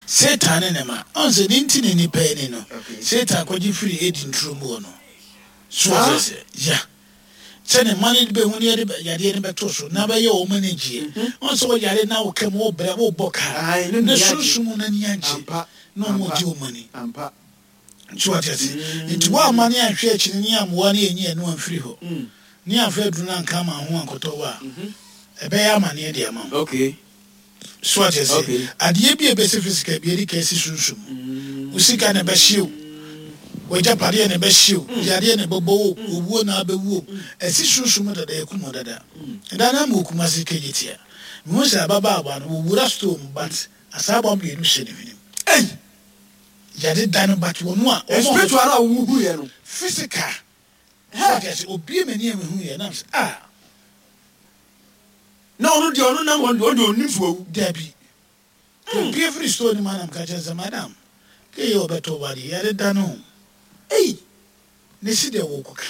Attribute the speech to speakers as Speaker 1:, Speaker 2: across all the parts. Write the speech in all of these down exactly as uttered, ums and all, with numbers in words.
Speaker 1: Satan ne ne ma. Ɔn sɛ ne nti ne nipa ani no, Satan kɔgye firi Eden turo mu hɔ no. So wɔte aseɛ? Ya. Sɛ ne mma no bɛhu ne yɛde yadeɛ no bɛto so na bɛyɛ wɔn ani gyeɛ. Ɔn sɛ wɔyare na wo kam wobrɛ wobɔ kaa na sunsum no ani agye na wɔn gye wɔn ani. So wate aseɛ? Nti woamma ne anhwɛ akyi no ne ammoa ne anyi ɛno amfiri hɔ ne amfa aduru no anka ama ho ankɔtɔ wo a, ɛbɛyɛ amaneɛ de ama wo. So wate aseɛ? Adeɛ bi a ɛbɛsi physical bi adi kan si sunsum mu. Wo sika na ɛbɛhye o, w'agyapadeɛ na ɛbɛhye o, yadeɛ na ɛbɛbɔ wo o, owuo na abɛwu o, ɛsi sunsum mu dada, ɛkum wo dada. Ɛda no ama wɔ Kumasi Kejetia, mehu sɛ ababaawa no, wɔwura store mu but asaabɔ mmienu hyɛ ne hwenem.
Speaker 2: Ei!
Speaker 1: Yade da no but wɔn a wɔn a
Speaker 2: Spiritual no a wohu yɛ no.
Speaker 1: Physical. So wate aseɛ? Obie m'ani a mehu yɛ na mesɛ ah.
Speaker 2: Na ɔno deɛ ɔno nam hɔ no deɛ ɔno deɛ ɔnnim sɛ wawu.
Speaker 1: Dabi. Opue firi store no mu a na meka kyerɛ no sɛ madam, kei yɛ ɔbɛtɔ wo adeɛ, yɛde da no o.
Speaker 2: Ei!
Speaker 1: Ne se deɛ worekɔka.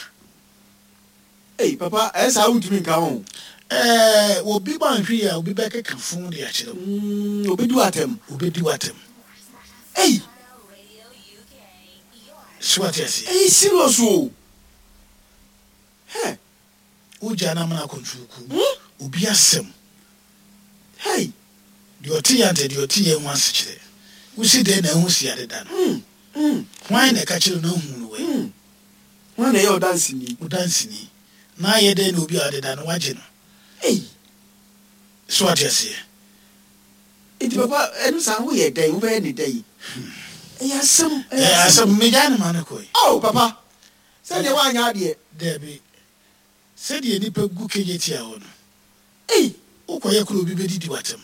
Speaker 2: Ei papa ɛyɛ saa wontumi nka ho.
Speaker 1: Ɛɛ obi wanhwɛ yie a obi bɛkeka fon de akyerɛ wo.
Speaker 2: Mm, obedi wo atɛm.
Speaker 1: Obedi wo atɛm.
Speaker 2: Ei!
Speaker 1: So wate aseɛ?
Speaker 2: Ɛyɛ serious o. Hɛ!
Speaker 1: Wogyaa no amena akɔntruku obi asɛm.
Speaker 2: Hey!
Speaker 1: Deɛ ɔte yɛ ante deɛ ɔte yɛ ho asekyerɛ. Wosi dɛn na ahu si adeda no? Hwan na ɛka kyerɛ no ahu no wɛ?
Speaker 2: Hwan na ɛyɛ ɔdanseni?
Speaker 1: Ɔdanseni. Na ayɛ dɛn na obi a ɔdeda no wagye no?
Speaker 2: Ei!
Speaker 1: So wate aseɛ?
Speaker 2: Nti papa ɛno saa woyɛ dɛn? Wobɛyɛ ne dɛn? Ɛyɛ asɛm, ɛyɛ
Speaker 1: Ɛyɛ asɛm. Megyaa no ma no kɔe.
Speaker 2: Oh papa! Sɛdeɛ woanyɛ adeɛ.
Speaker 1: Dabi. Sɛdeɛ nnipa gu Kejetia hɔ no,
Speaker 2: Ei!
Speaker 1: wokɔyɛ koro obi bɛdidi w'atɛm.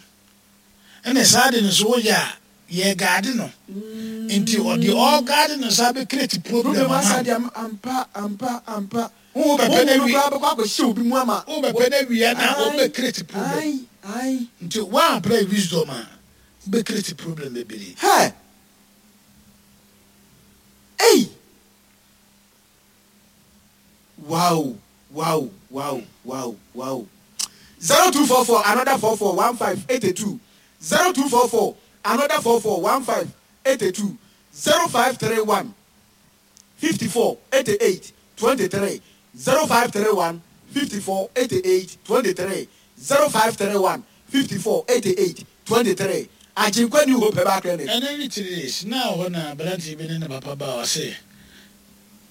Speaker 1: Ɛna saa ade no so woyɛ a, yɛregaade no. Nti ɔde ɔregaade no saa bɛ create problem
Speaker 2: Problem
Speaker 1: ama
Speaker 2: asa
Speaker 1: wo.
Speaker 2: de ama ampa ampa ampa.
Speaker 1: Wo bɛpɛ
Speaker 2: Honhom
Speaker 1: no
Speaker 2: no
Speaker 1: awie.
Speaker 2: koraa bɛkɔ akɔhyɛ obi mu ama.
Speaker 1: Wo bɛpɛ no awie na
Speaker 2: Ae,
Speaker 1: wobɛ create problem.
Speaker 2: ae, ae.
Speaker 1: Nti woan apply wisdom a, wobɛ create problem bebree.
Speaker 2: Hɛ! Ei! Wow wow wow wow wow zero two four four another four four one five eighty two zero two four four another four four one five eighty two zero five three one fifty four eighty eight twenty three zero five three one fifty four eighty eight twenty three zero five three one fifty four eighty eight twenty three Agyenkwa New Hope Herbal Clinic.
Speaker 1: Ɛno ne three days na wɔ hɔ na aberanteɛ bi ne ne papa baa ɔse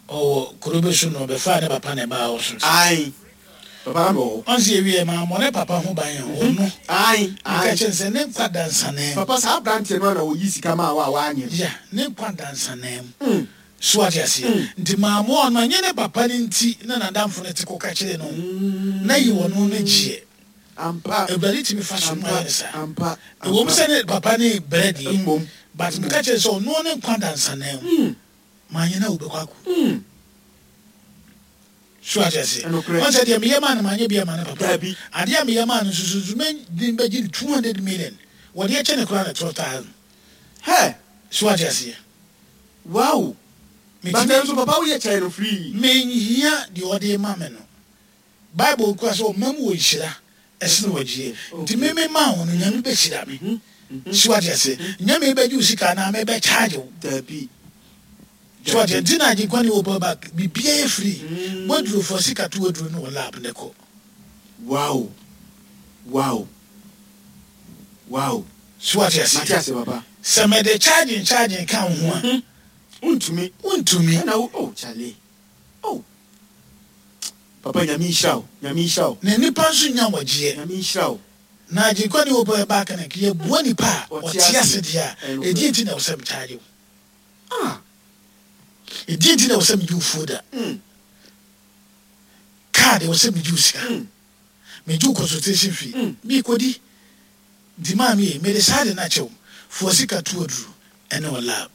Speaker 1: ɔwɔ kuro bi so na ɔbɛfaa ne papa na ɛbaa hɔ so nti.
Speaker 2: Ae papa na mewɔ hɔ.
Speaker 1: Ɔnse yɛwieɛ mammɔ ne papa ho ban a ɔno
Speaker 2: Ae
Speaker 1: meka
Speaker 2: ae.
Speaker 1: kyerɛ no sɛ ne nkwa da nsanaa mu.
Speaker 2: Papa saa abranteɛ no ara na ɔyi sika maa wo a woanyɛ no.
Speaker 1: Yeah ne nkwa da nsanaa mu. So wate aseɛ? Nti mammoa ɔno ɛnyɛ ne papa no nti na nadamfo no te kɔka kyerɛɛ no na yi ɔno no gyeɛ.
Speaker 2: Ampa.
Speaker 1: Awurade tumi fa so ma
Speaker 2: Ampa
Speaker 1: yɛ no saa.
Speaker 2: ampa
Speaker 1: Ɛwɔ mu
Speaker 2: ampa.
Speaker 1: sɛ ne papa ne brɛ deɛ
Speaker 2: Mmom.
Speaker 1: but meka kyerɛ no sɛ ɔno ne nkwa da nsanaa mu. Manyɛ no a wobɛkɔ akɔ. So ate aseɛ?
Speaker 2: Ɛnokorɛ.
Speaker 1: Ɔn sɛ deɛ meyɛ maa no manyɛ bi ama ne papa.
Speaker 2: Dabi.
Speaker 1: Adeɛ a meyɛ maa no nso so nso mɛde bɛgye no two hundred million. Wɔde akyɛ no koraa na twelve thousand.
Speaker 2: Hɛ!
Speaker 1: So ate aseɛ?
Speaker 2: Wow! But
Speaker 1: Metumi.
Speaker 2: ɛno nso papa woyɛ kyɛɛ no free.
Speaker 1: Menhia deɛ ɔde ma me no. Bible kura sɛ ɔma mu wɔ nhyira ɛsene ɔgyeɛ. Nti me me maa wo no Nyame bɛhyira me. So wate aseɛ? Nyɛ me bɛgye wo sika anaa me bɛ charge wo.
Speaker 2: Dabi.
Speaker 1: So wate
Speaker 2: Dabi.
Speaker 1: Nti na Agyenkwa ne Hope Bank biribiara yɛ free. Waduro fa sika to waduro no wɔ lab ne kɔ.
Speaker 2: Wow! Wow! Wow!
Speaker 1: So wate aseɛ?
Speaker 2: Mate aseɛ papa.
Speaker 1: Sɛ mede charging charging ka wo ho a.
Speaker 2: Wontumi.
Speaker 1: Wontumi.
Speaker 2: Ɛna wo oh chale oh. Papa Nyame nhyira wo, Nyame nhyira wo.
Speaker 1: Na nipa nso nya wɔgyeɛ.
Speaker 2: Nyame nhyira wo.
Speaker 1: Na Agyenkwa ne Hope Bank no yɛboa nipa a
Speaker 2: Ɔte
Speaker 1: ɔte
Speaker 2: ase.
Speaker 1: ase deɛ a,
Speaker 2: Ɛnokorɛ.
Speaker 1: ɛdeɛ nti na ɛwɔ sɛ me charge wo?
Speaker 2: Ah.
Speaker 1: Ɛdeɛ nti na ɛwɔ sɛ megye wo fuo da? Car deɛ ɛwɔ sɛ megye wo sika. Megye wo consultation fee. Meekɔdi. Nti maame yi, mede saa de no akyɛ wo. Fa wo sika to aduro ɛne wo lab.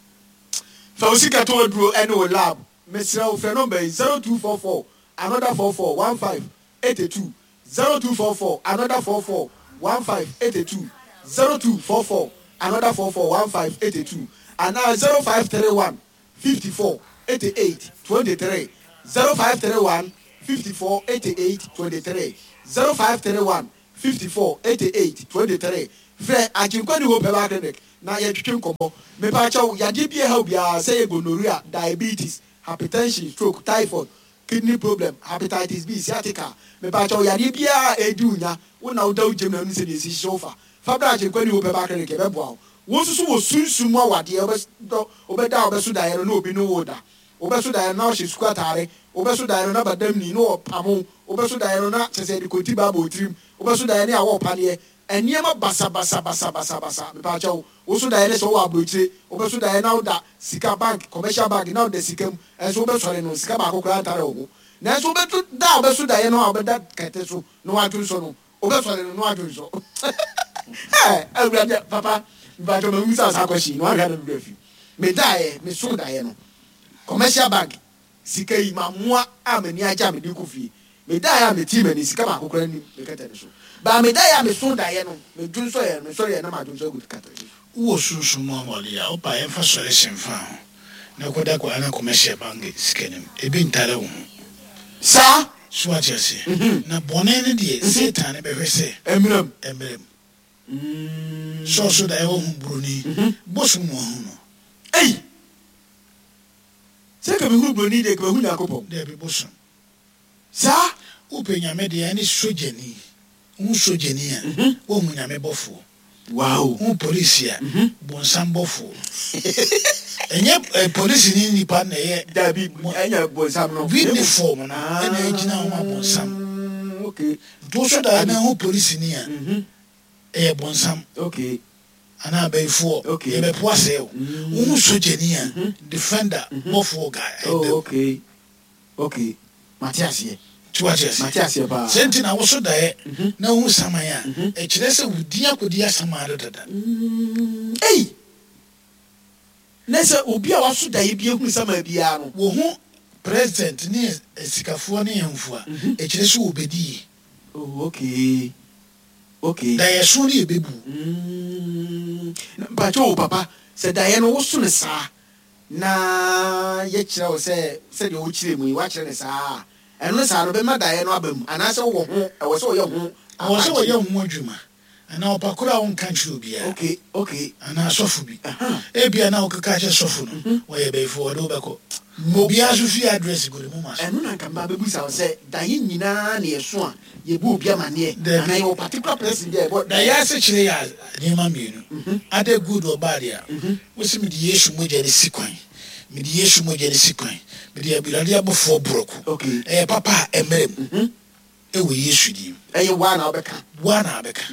Speaker 2: Fa wo sika to aduro ɛne wo lab. Mesrɛ wo frɛ number yi zero two four four another four four one five eighty two zero two four four another four four one five eighty two zero two four four another four four one five eighty two anaa zero five three one fifty four eighty eight twenty three zero five three one fifty four eighty eight twenty three zero five three one fifty four eighty eight twenty three frɛ Agyenkwa New Hope Herbal Clinic Na yɛtwetwe nkɔmmɔ. Mepaakyɛw, yadeɛ bi a ɛha wo biara, sɛ ɛyɛ gonorrhea, diabetes, hypertension, stroke, typhoid, kidney problem, hepatitis B, sciatica, mepaakyɛw, yadeɛ biara a ɛredi wo nya, wo na woda wo gyam na wonim sɛdeɛ ɛsi hyehyɛ wo fa, fa bra Agyenkwa New Hope Herbal Clinic, yɛbɛboa wo. Wo nso so wɔ sunsum mu awadeɛ, wobɛdɔ, wobɛda a wobɛso daeɛ no na obi ne wo reda, wobɛso daeɛ no na ɔhyɛ sukuu ataare, wobɛso daeɛ no na badamni na ɔrepamo wo, wobɛso daeɛ no na kyerɛ sɛ yɛde konti ba abɔ wo tirim, wobɛso daeɛ no yɛ awɔ paneɛ, Nneɛma basabasabasabasabasa, mepaakyɛw, wo so daeɛ ne sɛ wowɔ abrokyire, wobɛso daeɛ na woda sika bank, commercial bank, na woda sika mu, nso wobɛsɔre no sika baako koraa ntare wo ho, nanso wobɛto da a wobɛso daeɛ no a wobɛda kɛtɛ so na woadwonsɔ no, wobɛsɔre no na woadwonsɔ. Ɛɛ Awurade, papa, mepaakyɛw ma memmisa wo saa question yi na woanhwɛ a na me werɛ afi. Medaeɛ, mesoo daeɛ no, commercial bank, Sika yi, mamoa a m'ani agye a mede rekɔ fie. Medaeɛ a metii m'ani, sika baako koraa nni me kɛtɛ no so. Baa medaeɛ a mesoo daeɛ no, medwonsɔeɛ no, mesɔreeɛ na madwonsɔ agu kɛtɛ no so.
Speaker 1: Wowɔ sunsum mu ahoɔden a, wopa a yɛmfa sɔre mfa ho na kɔda kɔ ana commercial bank sika no mu. Ebi ntare wo ho.
Speaker 2: Saa.
Speaker 1: So wate aseɛ? Na bɔne no deɛ, Satan no bɛhwɛ sɛ.
Speaker 2: Ɛmmra mu.
Speaker 1: Ɛmmra mu. Sɛ ɔso daeɛ wahu buroni, bosom na wahu no.
Speaker 2: Ei! Sɛ nka mehunu broni deɛ nka mahu Nyankopɔn.
Speaker 1: Dabi bosom.
Speaker 2: Saa.
Speaker 1: Wopɛ Nyame deɛ ɛne sogyani. Wohu sogyani a, woahu Nyame bɔfoɔ.
Speaker 2: Wow.
Speaker 1: Wohu polisi a, bonsam bɔfoɔ. Ɛnyɛ polisi ne nipa na ɛyɛ.
Speaker 2: Dabi, ɛnyɛ bonsam no.
Speaker 1: Uniform no ɛna ɛgyina hɔ ma bonsam.
Speaker 2: Okay.
Speaker 1: Nti wosɔ daeɛ na wohu polisini a, Ɛyɛ bonsam.
Speaker 2: Okay.
Speaker 1: Anaa abayifoɔ.
Speaker 2: Okay.
Speaker 1: Yɛbɛpo asɛe wo. Wohu sogyani a, defender, bɔfoɔ guy, ɛda mu.
Speaker 2: Oh, okay. Okay. Mate aseɛ.
Speaker 1: Nti wate aseɛ?
Speaker 2: Mate aseɛ paa.
Speaker 1: Sɛ nti na woso daeɛ na wohu saman a, ɛkyerɛ sɛ wo din akɔdi asaman do dada.
Speaker 2: Ei! Na sɛ obi a waso daeɛ bi ahunu saman biara no.
Speaker 1: Wohu president ne asikafoɔ ne ahemfo a, ɛkyerɛ sɛ wɔbɛdi yie.
Speaker 2: Oh, okay. Okay.
Speaker 1: Daeɛso no yɛ bɛbu.
Speaker 2: Mm, na mpakyɛ o papa, sɛ daeɛ no woso no saa na yɛkyerɛ wo sɛ sɛdeɛ wokyerɛ mu yi woakyerɛ no saa a, ɛno no saa no bɛma daeɛ no aba mu anaasɛ wowɔ ho, ɛwɔ sɛ wɔyɛ ho
Speaker 1: Ɛwɔ sɛ
Speaker 2: akwankyerɛ?
Speaker 1: wɔyɛ ho adwuma. Anaa ɔpa koro a wonka nkyerɛ obiara.
Speaker 2: Okay, okay.
Speaker 1: Anaa sɔfo bi.
Speaker 2: Aha.
Speaker 1: Ebia na wokeka akyerɛ sɔfo no, wɔyɛ bayifoɔ, wɔde wo bɛkɔ.
Speaker 2: Mo.
Speaker 1: Obiara nso fie address gu ne moma so.
Speaker 2: Ɛno na nka meba abɛbisa wo sɛ, daeɛ nyinaa na yɛso a yɛbɔ obi amaneɛ?
Speaker 1: Dabi.
Speaker 2: Anaa yɛwɔ particular person bi a yɛbɔ
Speaker 1: Daeɛ asekyerɛ yɛ nneɛma mmienu. Either good or bad a, wose mede Yesu mogya no si kwan, mede Yesu mogya no si kwan, mede Awurade abɔfoɔ borɔko.
Speaker 2: Okay.
Speaker 1: Ɛyɛ papa a ɛmmra mu. Ɛwɔ Yesu din mu.
Speaker 2: Ɛyɛ woa na wobɛka.
Speaker 1: Woa na wobɛka.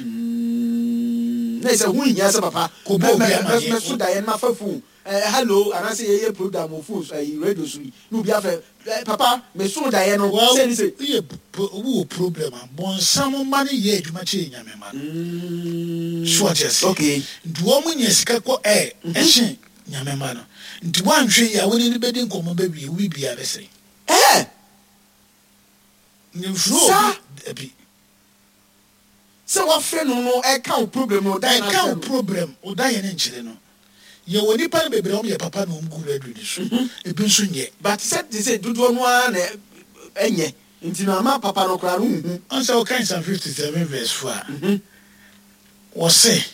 Speaker 2: Na ɛsɛ ho nhia sɛ papa
Speaker 1: Kɔbɔ obi amaneɛ.
Speaker 2: mɛso daeɛ no mafa phone eh, hello anaasɛ yɛyɛ program wɔ phone so ayi radio so yi na obi afrɛ eh, papa meso daeɛ no
Speaker 1: Well,
Speaker 2: sei ne sei.
Speaker 1: woyɛ wowɔ problem a, bonsam mma no yɛ adwuma kyɛn Nyame mma no. So wate aseɛ?
Speaker 2: Okay.
Speaker 1: Nti wɔn nya sika kɔ air ɛkyen Nyame mma no. Nti woanhwɛ yie a wo ne no bɛdi nkɔmmɔ bɛwie wo biribiara bɛsɛe.
Speaker 2: Eh!
Speaker 1: Mfrɛ obi
Speaker 2: Saa.
Speaker 1: dabi.
Speaker 2: Sɛ wafrɛ no no ɛka wo problem no ɔda yɛn
Speaker 1: Ɛka
Speaker 2: akyerɛ
Speaker 1: wo
Speaker 2: no.
Speaker 1: problem ɔda yɛn nkyerɛ no. Yɛwɔ nipa no bebree a wɔn yɛ papa na wɔn gu radio no so. Ebi nso nyɛ.
Speaker 2: But sɛ te sɛ dodoɔ no ara na ɛnyɛ nti no ama papa no koraa no nhu.
Speaker 1: Ɔn sɛ wokan Psalm fifty seven verse four a, wɔse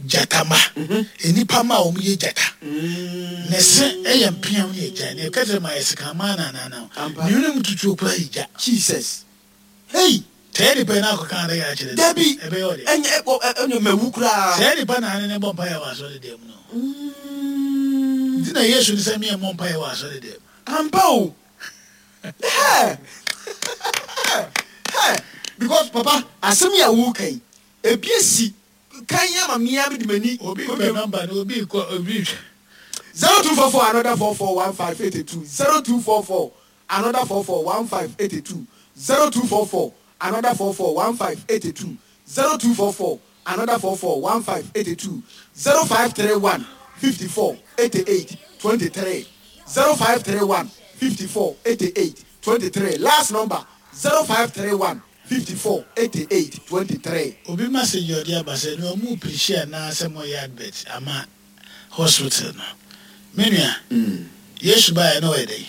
Speaker 1: gyata mma, nnipa mma a wɔn yɛ gyata. Ne se yɛ mpeaw ne agyan, ne kɛtrɛma yɛ sekammaa na ananam,
Speaker 2: Ampa.
Speaker 1: ne hwene mu tutuo koraa yɛ gya.
Speaker 2: Jesus. Hey!
Speaker 1: Saa nipa yi na akɔka adaka akyerɛ no.
Speaker 2: Dabi!
Speaker 1: Ɛbɛyɛ ɔdɛ.
Speaker 2: Ɛnyɛ, ɛ, ɔ, ɛ, ɛnyɛ mawu koraa.
Speaker 1: Saa nipa na ne ne bɔ mpaeɛ wɔ asɔre dɛm no. Nti na Yesu ne sɛ meɛ mmɔ mpaeɛ wɔ asɔre dɛm.
Speaker 2: Ampa o. Hɛ! Hɛ! Because papa, asɛm yi a woreka yi, ebi asi kan ama me ara mede m'ani.
Speaker 1: Obi pɛ number no, obi kɔ, obi hwɛ.
Speaker 2: Zero two four four another four four one five eight two zero two four four another four four one five eight two zero two four four another four four one five eight two zero two four four another four four one five eight two zero five three one fifty four eighty eight twenty three zero five three one fifty four eighty eight twenty three last number zero five three one fifty four eighty eight twenty three.
Speaker 1: Obi message a ɔde aba sɛ nea ɔmo preachi anaa sɛ mo yɛ advert ama hospital no. Me nua, Yesu baeɛ na ɔyɛ dɛn?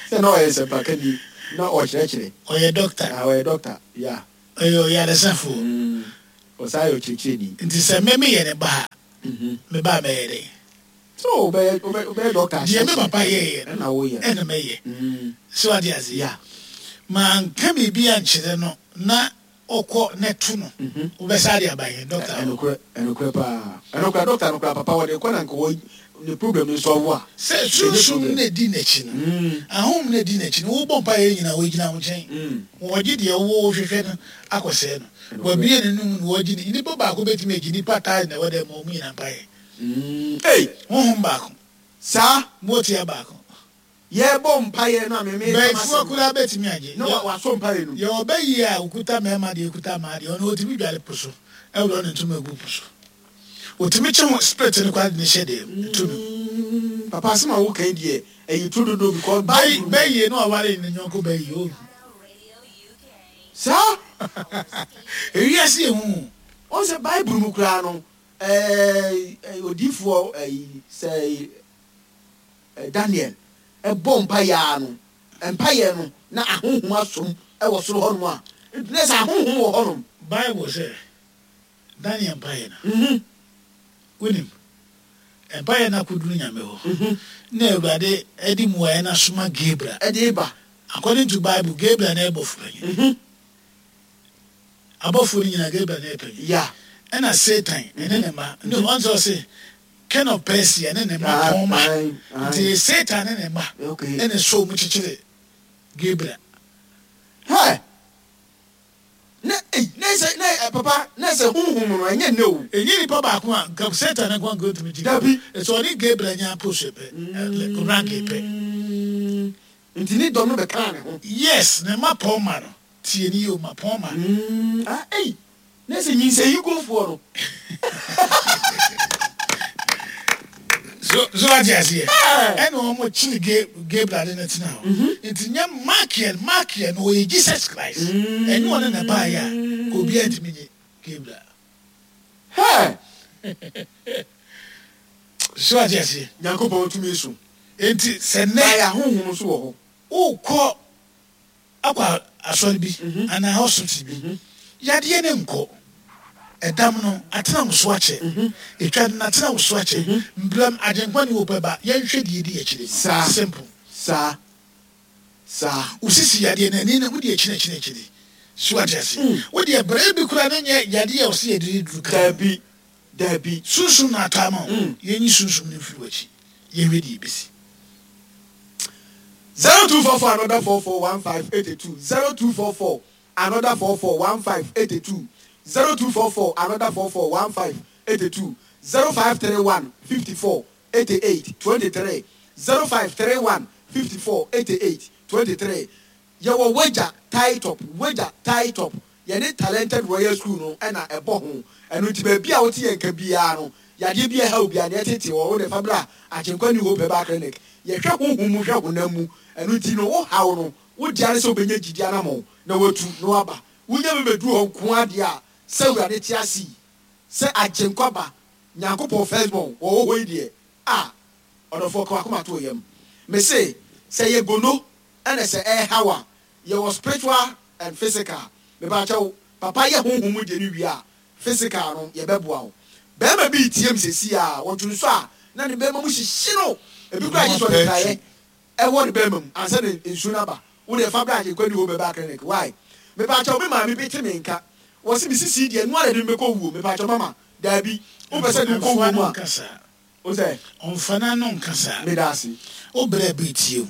Speaker 2: Sɛ na ɔyɛ nsɛmpakani na ɔkyerɛkyerɛ.
Speaker 1: Ɔyɛ doctor.
Speaker 2: Ah, ɔyɛ doctor, yeah.
Speaker 1: Ɔyɛ ɔyaresafoɔ.
Speaker 2: Ɔsan yɛ ɔkyerɛkyerɛni.
Speaker 1: Nti sɛ me meyɛ ne ba a, me ba mɛyɛ dɛn?
Speaker 2: So wobɛyɛ wobɛ wobɛyɛ doctor.
Speaker 1: Deɛ me papa yɛyɛ no,
Speaker 2: ɛna woyɛ.
Speaker 1: Ɛna mɛyɛ.
Speaker 2: Mm.
Speaker 1: So ade ase.
Speaker 2: Yeah.
Speaker 1: Manka biribi ankyerɛ no na ɔkɔ ne to no, wobɛsa de aba yɛn doctor hɔ.
Speaker 2: Ɛnokorɛ, ɛnokorɛ paa, ɛnokorɛ. Doctor no koraa, papa, wɔde kɔ na nka wɔ ne problem no solve a.
Speaker 1: Sɛ sunsum no edi n'akyi no, ahom no edi n'akyi no, wobɔ mpa yɛ nyinaa, wɔgyina wo nkyɛn. Wɔgye deɛ wo hwehwɛ no akɔsɛɛ no. Wɔabue ne num na wɔgye ne nipa baako bɛtumi agye nipa taa na ɛwɔ dɛ ma ɔmo nyinaa mpa yɛ.
Speaker 2: Mm. Ei!
Speaker 1: Honhom baako.
Speaker 2: Saa.
Speaker 1: Motia baako.
Speaker 2: Yɛbɔ mpaeɛ no a meme
Speaker 1: bɛyifoɔ koraa bɛtumi agye.
Speaker 2: Na wa- wasɔ mpaeɛ no mu.
Speaker 1: Yɛwɔ bɛyie a okuta mmarima deɛ, okuta mmaa deɛ, ɔno ɔtumi dware po so, ɛwurɔ ne ntoma egu po so, ɔtumi kye ho spirit no koraa de ne hyɛ dɛm etu no.
Speaker 2: Mm, papa, asɛm a woka yi deɛ, ɛyɛ turu dodo because
Speaker 1: bɛyi
Speaker 2: Bible mu
Speaker 1: bɛyie no aware ne nyɔnko bɛyie o.
Speaker 2: Saa.
Speaker 1: Ewiase ehu.
Speaker 2: Ɔn sɛ Bible mu koraa no, ɛɛ ɛɛ, odiifoɔ ɛyi sɛ ɛɛ Daniel ɛbɔ mpaeɛ a no, mpaeɛ no na ahonhom asom ɛwɔ soro hɔnom a, nti na sɛ ahonhom wɔ hɔnom.
Speaker 1: Bible sɛ Daniel mpaeɛ no,
Speaker 2: Mhm.
Speaker 1: wonim mpaeɛ no akɔduru Nyame hɔ na Awurade ɛde mmuaeɛ no asoma Gabriel.
Speaker 2: Ɛde ba.
Speaker 1: According to Bible, Gabriel na ɛbɔfo panyin.
Speaker 2: Mhm.
Speaker 1: Abɔfo no nyinaa, Gabriel na ɛpanyin.
Speaker 2: Ya
Speaker 1: ɛna Satan ɛne ne mma ne ɔn sɛ ɔse King of Persia ne ne mma
Speaker 2: Ah,
Speaker 1: pɔn ma.
Speaker 2: aye, aye.
Speaker 1: Nti Satan ne ne mma
Speaker 2: Okay.
Speaker 1: ɛna so mu kyekyere Gabriel.
Speaker 2: Hɛ, na ei, na sɛ na ɛ, papa, na sɛ honhom no ɛnyɛ ne o.
Speaker 1: Enyi nipa baako a nka Satan nko nka otumi gye.
Speaker 2: Dabi.
Speaker 1: Ɛsɛ ɔne Gabriel nya post pɛ, rank pɛ.
Speaker 2: Mm, nti ne dɔm no bɛkaa ne ho.
Speaker 1: Yes, ne mma pɔn ma no tie ni yie o, ma pɔn ma.
Speaker 2: Mm, ah, ei, na sɛ nyinsɛn gofoɔ no.
Speaker 1: so so ate aseɛ?
Speaker 2: Ɛ.
Speaker 1: Ɛna wɔn kyere Ga- Gabriel de ne tena hɔ, nti nyɛ Michael. Michael no ɔyɛ Jesus Christ. Ɛnyɛ ɔne na baayɛ a ka obiara ntumi nye Gabriel.
Speaker 2: Hɛ.
Speaker 1: So ate aseɛ?
Speaker 2: Nyankopɔn tumi so.
Speaker 1: Nti sɛ
Speaker 2: na
Speaker 1: nnɛ
Speaker 2: yɛ ahonhom nso wɔ hɔ.
Speaker 1: Wokɔ akɔ asɔre bi anaa hospital bi, yadeɛ ne nkɔ, ɛdam no atena wo so akyɛ, etwa no atena wo so akyɛ, mbram Agyenkwa ne wopɛ ba, yɛnhwɛ deɛ di akyire.
Speaker 2: Saa.
Speaker 1: Simple.
Speaker 2: Saa saa.
Speaker 1: Wosisi yadeɛ no ani no, wode akyiri akyiri akyiri so, ate ase? Wode brɛ bi koraa no, nyɛ yadeɛ a ɔsɛ yɛde duru ka.
Speaker 2: Dabi, dabi.
Speaker 1: Sunsum na atɔ ama wo. Yɛnyi sunsum no mfiri w'akyi, yɛnhwɛ deɛ ɛbɛsi.
Speaker 2: Zero two four four another four four one five eight two, zero two four four another four four one five eight two, zero two four four another four four one five eight two, zero five three one fifty four eighty eight twenty three, zero five three one fifty four eighty eight twenty three. Yɛwɔ Wagya Tie Top, Wagya Tie Top, yɛne Talented Royal School no ɛna ɛbɔ ho. Ɛno nti baabi a wote yɛn ka biara no, yadeɛ bi a ɛha obiara deɛ ɛtete wɔ wo de fa bra Agyenkwa New Hope Herbal Clinic. Yɛhwɛ honhom mu, hwɛ honam mu. Ɛno nti no, wo haw no, wo dea ne sɛ wobɛnya gyidi anammɔn na watu na waba. Wonya bɛbɛduru hɔ nko adeɛ a, sɛ Awurade te ase yi, sɛ Agyenkwa ba Nyankopɔn firstborn wɔwɔ hɔ yi deɛ a, ɔdɔfoɔ, ka wakoma to yam. Me se sɛ yɛ gono ɛna sɛ ɛɛhaw a, yɛwɔ spiritual and physical. Mepakyɛw, papa, yɛ honhom mu deɛ no wie a, physical no yɛbɛboa wo. Bɛrima bi tie m sɛsi a wɔtwe nso a na ne bɛrima mu hyehye no, ebi kora agye sɛ ɔde praeɛ ɛwɔ ne bɛrima mu ansa ne nsuo no aba. Wo deɛ, fa bra Agyenkwa New Hope Herbal Clinic. Why? Mepakyɛw, me maame bi te me nka, wɔ se me sisi deɛ noa na de me bɛkɔ wuo. Mepakyɛw mama, daabi, wopɛ sɛ de wokɔ wuo mu a
Speaker 1: nka saa.
Speaker 2: O sɛ
Speaker 1: ɔmfa n'ano nka saa.
Speaker 2: Meda ase.
Speaker 1: Wo brɛ bi tie o,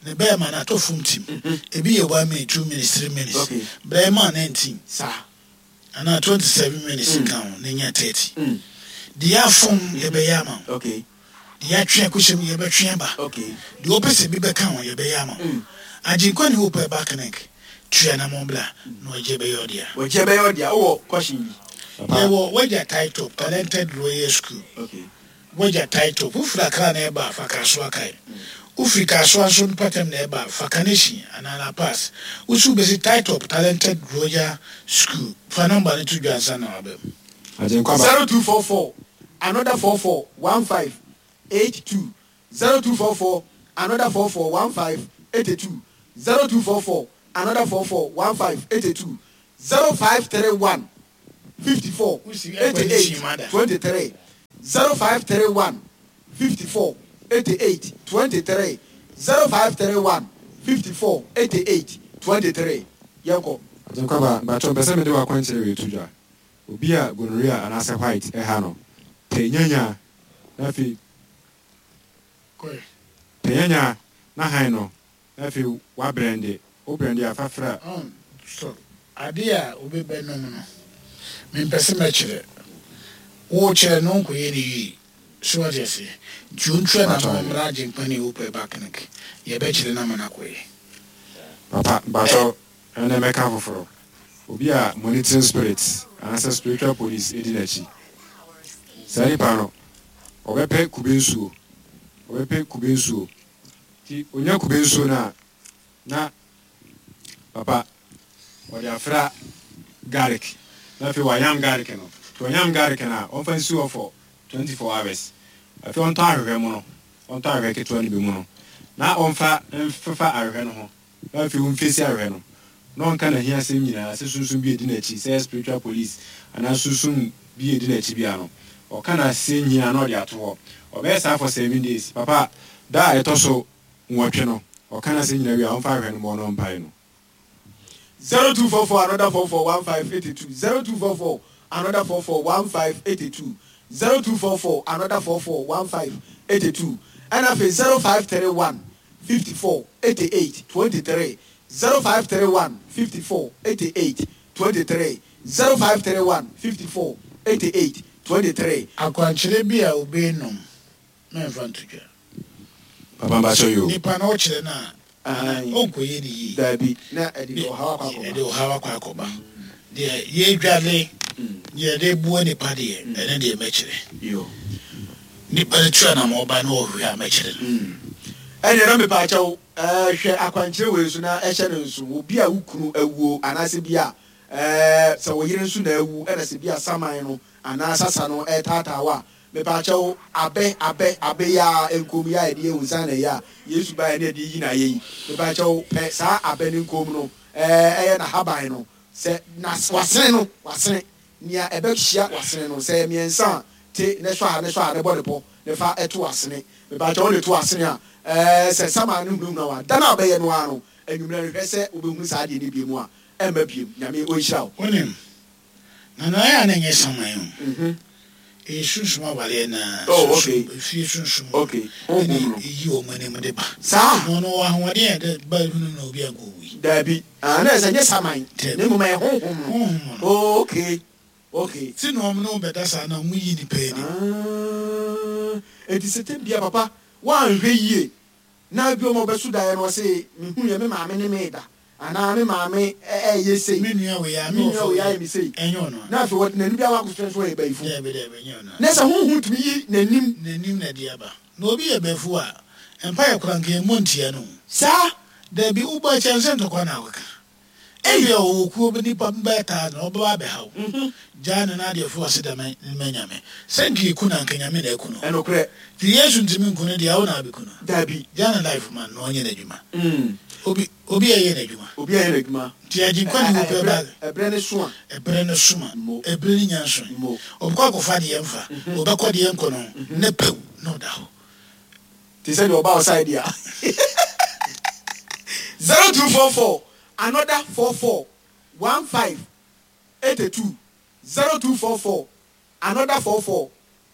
Speaker 1: ne bɛrima no atɔ fom tim, ebi yɛ one minute, two minutes, three minutes.
Speaker 2: Okay.
Speaker 1: Brɛ ma nineteen
Speaker 2: saa
Speaker 1: anaa twenty seven minutes nka ho na nya thirty. Deɛ afom yɛbɛyɛ ama wo.
Speaker 2: Okay
Speaker 1: deɛ atwe akɔhyɛ mu yɛbɛtwe aba.
Speaker 2: Okay
Speaker 1: deɛ wopɛ sɛ bi bɛka ho yɛbɛyɛ ama wo. Agyenkwa Ne Hope Herbal Clinic, tua namɔ bla na ɔgye bɛyɛ ɔdea.
Speaker 2: Wɔgye bɛyɛ ɔdea. Wowɔ question bi?
Speaker 1: Yɛwɔ Wagya Tie Top, Talented Royal School.
Speaker 2: Okay
Speaker 1: wagya Tie Top, wofiri Akra na ɛba a, fa Kasoa kae. Wofiri Kasoa nso mpɔtam na ɛba a, fa Kaneshie anaa La Pass. Wosi wobɛsi Tie Top, Talented Royal School. Fa number no to dwa ansa na waba mu.
Speaker 3: Agyenkwa ba.
Speaker 2: zero two four four another four four one five eight two, zero two four four another four four one five eight two, zero two four four another four four one five eight two, zero five three one. fifty four eighty eight twenty three zero five three one fifty four eighty eight twenty three zero five three one fifty four eighty eight twenty three yɛnkɔ.
Speaker 3: Agyenkwaba, mpakyɛw mpɛ sɛ mede w'akwankyerɛ wei to dwa. Obi a gonorrhea anaasɛ white ɛha no, pɛ nyanya na afei pɛ nyanya na han no na afei wabrɛnde. Wo brɛnde a fa fra.
Speaker 1: Ɔn, so ade a obi bɛnom no, mempɛ sɛ mɛkyerɛ. Wokyerɛ no nkɔyɛ no yie. So wate aseɛ? Nti ɔntua
Speaker 3: Mpakyɛw
Speaker 1: n'ano mmra Agyenkwa ne Hope Herbal Clinic. Yɛbɛkyerɛ no ama no akɔyɛ.
Speaker 3: Papa, mpakyɛw ɛnɛ mɛka foforɔ. Obi a monitoring spirit anaasɛ spiritual police edi n'akyi. Saa nipa no, ɔbɛpɛ kube nsuo. Ɔbɛpɛ kube nsuo. Nti onya kube nsuo no a, na papa ɔde afra garlic na afei wayam garlic no. Nti ɔyam garlic no a, ɔmfa nsi hɔ for twenty four hours. Afei ɔntɔ ahwehwɛ mu no, ɔntɔ ahwehwɛ ketewa no bi mu no, na ɔmfa mfefa ahwehwɛ no ho. Na afei ɔmfesi ahwehwɛ no. Na ɔnka n'ahiasɛm nyinaa sɛ sunsum bi edi n'akyi, sɛ spiritual police anaa sunsum bi edi n'akyi bia no. Ɔka n'asɛm nyinaa na ɔde ato hɔ. Ɔbɛyɛ saa for seven days. Papa, da a ɛtɔ so nwɔtwe no, ɔka n'asɛm nyinaa wie a, ɔmfa ahwehwɛ no mmɔ no mpae no.
Speaker 2: zero two four four another four four one five eighty two zero two four four another four four one five eighty two zero two four four another four four one five eighty two ɛna afei zero five three one fifty four eighty eight twenty three zero five three one fifty four eighty eight twenty three zero five three one fifty four eighty eight twenty three.
Speaker 1: Akwankyerɛ bi a obi nom, mɛmfa nto dwa.
Speaker 3: Papa mpakyɛw yi o.
Speaker 1: Nipa na ɔkyerɛ no a, ɔnkɔyɛ ne yie.
Speaker 2: Dabi, na ɛde ɔhaw akɔ akɔba.
Speaker 1: Ɛde ɔhaw akɔ akɔba. Deɛ yɛdwale, deɛ yɛde boa nipa deɛ, ɛne deɛ mɛkyerɛ.
Speaker 2: Yo.
Speaker 1: Nipa no tua nam ɔba na ɔhwɛ a mɛkyerɛ no.
Speaker 2: Ɛnna ɛna mepaakyɛw ɛɛ hwɛ akwankyerɛ wei so na ɛhyɛ ne nso obi a wo kunu awuo anaasɛ bi a ɛɛ sɛ wo yere nso na awu ɛna sɛ bi a saman no anaa sasa no ɛtaataa wa mepaakyɛw abɛ abɛ abɛ yi a nkom yi a yɛde yɛ nsa na yi a Yesu ba yɛ ne yɛde yi na yɛ yi mepaakyɛw pɛ saa abɛ ne nkom no ɛɛ ɛyɛ n'ahaban no sɛ na wasene no wasene nea ɛbɛhyia wasene no sɛ mmiɛnsa a te ne sɔ a ne sɔ a ne bɔ ne pɔ ne fa ɛto asene mepaakyɛw wɔde to asene a ɛɛ sɛ sama no hunahuna wa da na ɔbɛyɛ no ara no enwummerɛ no hwɛ sɛ wobɛhunu saa adeɛ no biem a ɛmma biem Nyame ɔnhyira wo.
Speaker 1: Wonim, na na ɛyɛ a na ɛnyɛ saman o. Ɛyɛ sunsum awareɛ na
Speaker 2: Oh, okay.
Speaker 1: sunsum efie sunsum
Speaker 2: Okay.
Speaker 1: ɛne
Speaker 2: Honhom no.
Speaker 1: ɛyi wɔn anim de ba.
Speaker 2: Saa.
Speaker 1: Na ɔno wɔ ahoɔden a ɛde ba hunu na obi ankɔ wui.
Speaker 2: Dabi, ah na ɛsɛ nyɛ saman
Speaker 1: Dabi.
Speaker 2: na mmom ɛyɛ honhom no.
Speaker 1: Honhom no.
Speaker 2: Oh, okay okay.
Speaker 1: Ti na wɔn ne bɛda saa na wɔn yi nipa anim.
Speaker 2: Ah, eti sɛ tɛm bia papa woanhwɛ yie na bi ɔma ɔbɛso daeɛ no ɔse mehu yɛ me maame ne me da anaa me maame ɛyɛ sei
Speaker 1: Me nua wei a
Speaker 2: me
Speaker 1: me
Speaker 2: nua wei ayɛ me sei
Speaker 1: ɛnyɛ ɔno a.
Speaker 2: na afei wɔde n'ani bi akɔ akɔsua nso ɔyɛ bayifo
Speaker 1: Dabi dabi ɛnyɛ ɔno a.
Speaker 2: na sɛ honhom tumi yi n'anim
Speaker 1: N'anim na ɛde aba. Na obi yɛ bɛfu a mpa yɛ kora nka emu ntia no.
Speaker 2: Saa.
Speaker 1: Dabi wobɔ akyɛn sɛ ntɔkwa na akɔka. Ebi a ɔwɔ kuo bi nipa bɛyɛ taa na ɔbɛba abɛha wo. Gyaa ne n'adeɛ fo ase da mɛ nyame. Sɛ nka eku na nka nyame na eku no.
Speaker 2: Ɛnokorɛ.
Speaker 1: Ti Yesu ntumi nku no deɛ awo na abeku no.
Speaker 2: Dabi.
Speaker 1: Gyaa ne life man na ɔnyɛ n'adwuma.
Speaker 2: Mm.
Speaker 1: Obi obi a ɛyɛ n'adwuma.
Speaker 2: Obi ayɛ n'adwuma.
Speaker 1: Nti Agyenkwa ne Hope Herbal.
Speaker 2: Ɛbrɛ ne so a
Speaker 1: Ɛbrɛ no soma.
Speaker 2: Mo.
Speaker 1: Ɛbrɛ ne nya nso.
Speaker 2: Mo.
Speaker 1: Ɔbɛkɔ akɔfa deɛ mfa. Ɔbɛkɔ deɛ nkɔ no. Ne pɛw na ɔda hɔ.
Speaker 2: Te sɛ deɛ ɔba wo side a zero two four four another four four one five eighty two zero two four four another four four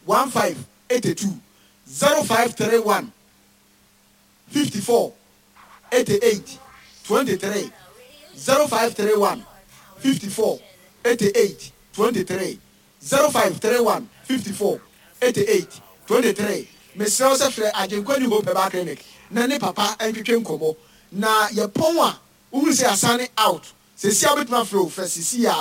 Speaker 2: one five eighty two zero five three one fifty four eighty eight twenty three zero five three one fifty four eighty eight twenty three zero five three one fifty four eighty eight twenty three mesrɛ wo sɛ frɛ Agyenkwa New Hope Herbal Clinic na ne papa ntwetwe nkɔmmɔ na yɛpɔn a wohunu sɛ yɛasane out sɛsi a wobɛtumi afrɛ o frɛ sisi a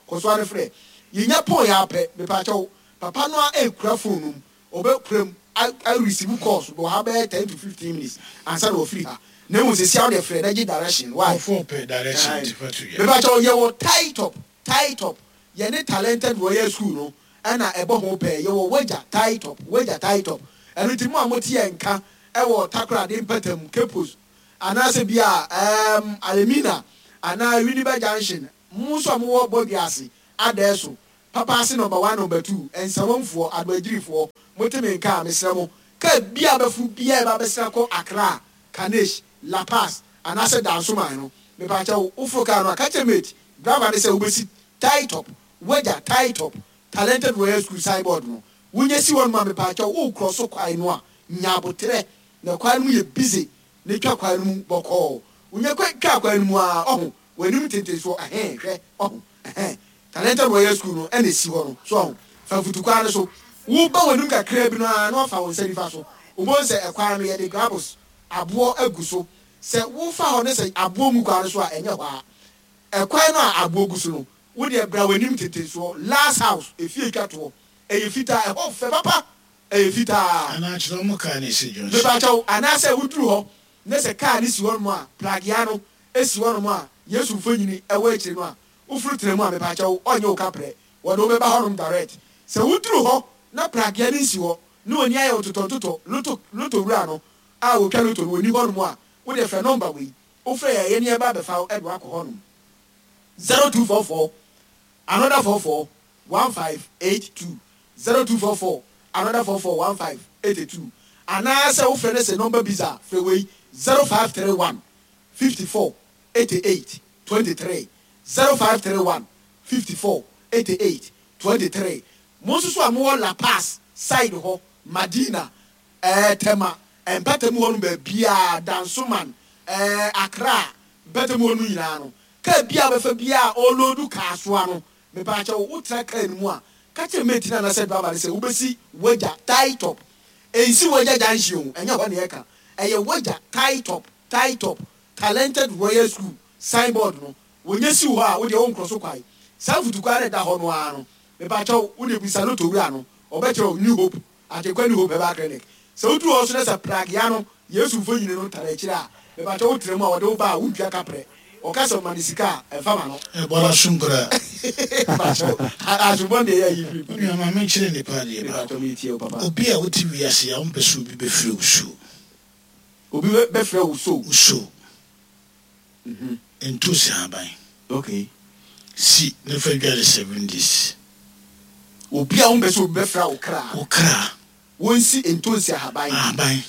Speaker 2: kɔsoa no frɛ yɛnya pɔn yɛ apɛ mepaakyɛw papa no a ɛkura phone no mu ɔbɛkura mu a receive calls bɔ ha bɛyɛ ten to fifteen minutes ansa na wɔfiri ha na emu sɛsi a wode frɛ na gye direction why
Speaker 1: Ɔfo pɛ direction ti fa to yɛ.
Speaker 2: mepaakyɛw yɛwɔ tie top tie top yɛne Talented Royal School no ɛna ɛbɔ ho pɛɛ yɛwɔ Wagya tie top Wagya tie top ɛno nti mu a mote yɛn nka ɛwɔ Takoradi mpɛtam Kepos anaasɛ bi a ɛɛm Alemina anaa Winneba Junction mo nso a mowɔ Bɔdua ase adɛɛ so Papa ase number one, number two, Nsawamfoɔ, Adoagyirifoɔ, mote me nka a, mesrɛ mo, kaa biaa bɛforo biaa ɛba bɛsra kɔ Accra, Kanesh, La Paz, anaasɛ Dansoman no, mepakyɛw, woforo kaa no a, ka kyerɛ mate, driver no sɛ wobɛsi Tie Top, Wagya Tie Top, Talented Royal School signboard no, wonya si hɔ nom a, mepakyɛw, worekorɔ so kwae no a, nya aboterɛ, na kwan no mu yɛ busy, na twa kwan no mu bɔkɔɔ, wonya twa kwan no mu a, ɔho, w'anim ntentensoɔ, ɛhɛn, hwɛ, ɔho, ɛhɛn, Talented Royal School no ɛna esi hɔ no, so ɔho, fa mfutukwan no so, woba w'anim kakraa bi no ara na wafa wo nsa nifa so, wobɛhu sɛ ɛkwan no yɛde gravels, aboɔ agu so, sɛ wofa hɔ ne sɛ aboɔ ngu kwan no so a, ɛnyɛ hɔ ara, ɛkwan no a aboɔ gu so no, wo deɛ bra w'anim ntentensoɔ, last house, efie twa toɔ, ɛyɛ fitaa, ɛhɔ fɛ papa, ɛyɛ fitaa.
Speaker 1: Anaa kyerɛ wɔn kaa no esi junction.
Speaker 2: Mepakyɛw, anaasɛ woduru hɔ ne sɛ kaa no si hɔnom a, pragea no si hɔnom a Yesu mfonini wɔ akyire no a, woforo tena mu a, mepakyɛw, ɔnyɛ wo kaprɛ, wɔde wo bɛba hɔnom direct. Sɛ woduru hɔ na pragea no nsi hɔ, na w'ani ayɛ wo totɔntotɔ, loto, loto wura no a otwa loto no, onni hɔnom a, wo deɛ frɛ nɔmba wei, wofrɛ yɛn a, yɛne yɛba abɛfa wo de wo akɔ hɔnom, zero two four four, another four four, one five eight two, zero two four four, another four four, one five eight two, anaasɛ wofrɛ no sɛ nɔmba bisa a, frɛ wei, zero five three one, fifty four, eighty eight, twenty three, zero five three one, fifty four, eighty eight, twenty three. Mo nso so a mowɔ La Paz side hɔ, Madina, ɛɛ Tema, mpɛtam hɔ nom baabiara, Dansoman, ɛɛ Accra, mpɛtam hɔ nom nyinaa no, kaa biara a wobɛfa biara a ɔɔloodu kaasoa no, mepaakyɛw, wotra kaa no mu a, ka kyerɛ mate no anaasɛ driver no sɛ wobɛsi Wagya Tie Top. Ɛnsi Wagya Junction o, ɛnyɛ hɔ na yɛka. Ɛyɛ Wagya Tie Top, Tie Top, Talented Royal School signboard no, wɔnya si wo hɔ a, wo deɛ wonkorɔ so kwae. Saa mfutukwan no a ɛda hɔ no ara no, mepakyɛw, wo deɛ bisa lotto wura no, ɔbɛkyerɛ wo New Hope, Agyenkwa New Hope Herbal Clinic. Sɛ woduru hɔ nso na sɛ pragea no, Yesu mfonini no tare akyire a, mepakyɛw wotra mu a, wɔde wo ba a, wontua kaprɛ. Ɔka sɛ ma no sika a, ɛmfa ma no.
Speaker 1: Ɛbɔ no asom koraa.
Speaker 2: Mepakyɛw, asombɔ deɛ ɛyɛ ayi firi.
Speaker 1: Wo nua ma menkyerɛ nnipa adeɛ baako.
Speaker 2: Mepakyɛw metie wo papa.
Speaker 1: Obi a wote wiase a wompɛ sɛ obi bɛfrɛ wo so.
Speaker 2: Obi bɛfrɛ wo so.
Speaker 1: Wo so. Ntosi ahaban.
Speaker 2: Okay.
Speaker 1: Si na fa dware seven days.
Speaker 2: Obi a wompɛ sɛ obi bɛfrɛ wo kra.
Speaker 1: Wo kra.
Speaker 2: Wonsi ntosi ahaban.
Speaker 1: Ahaban.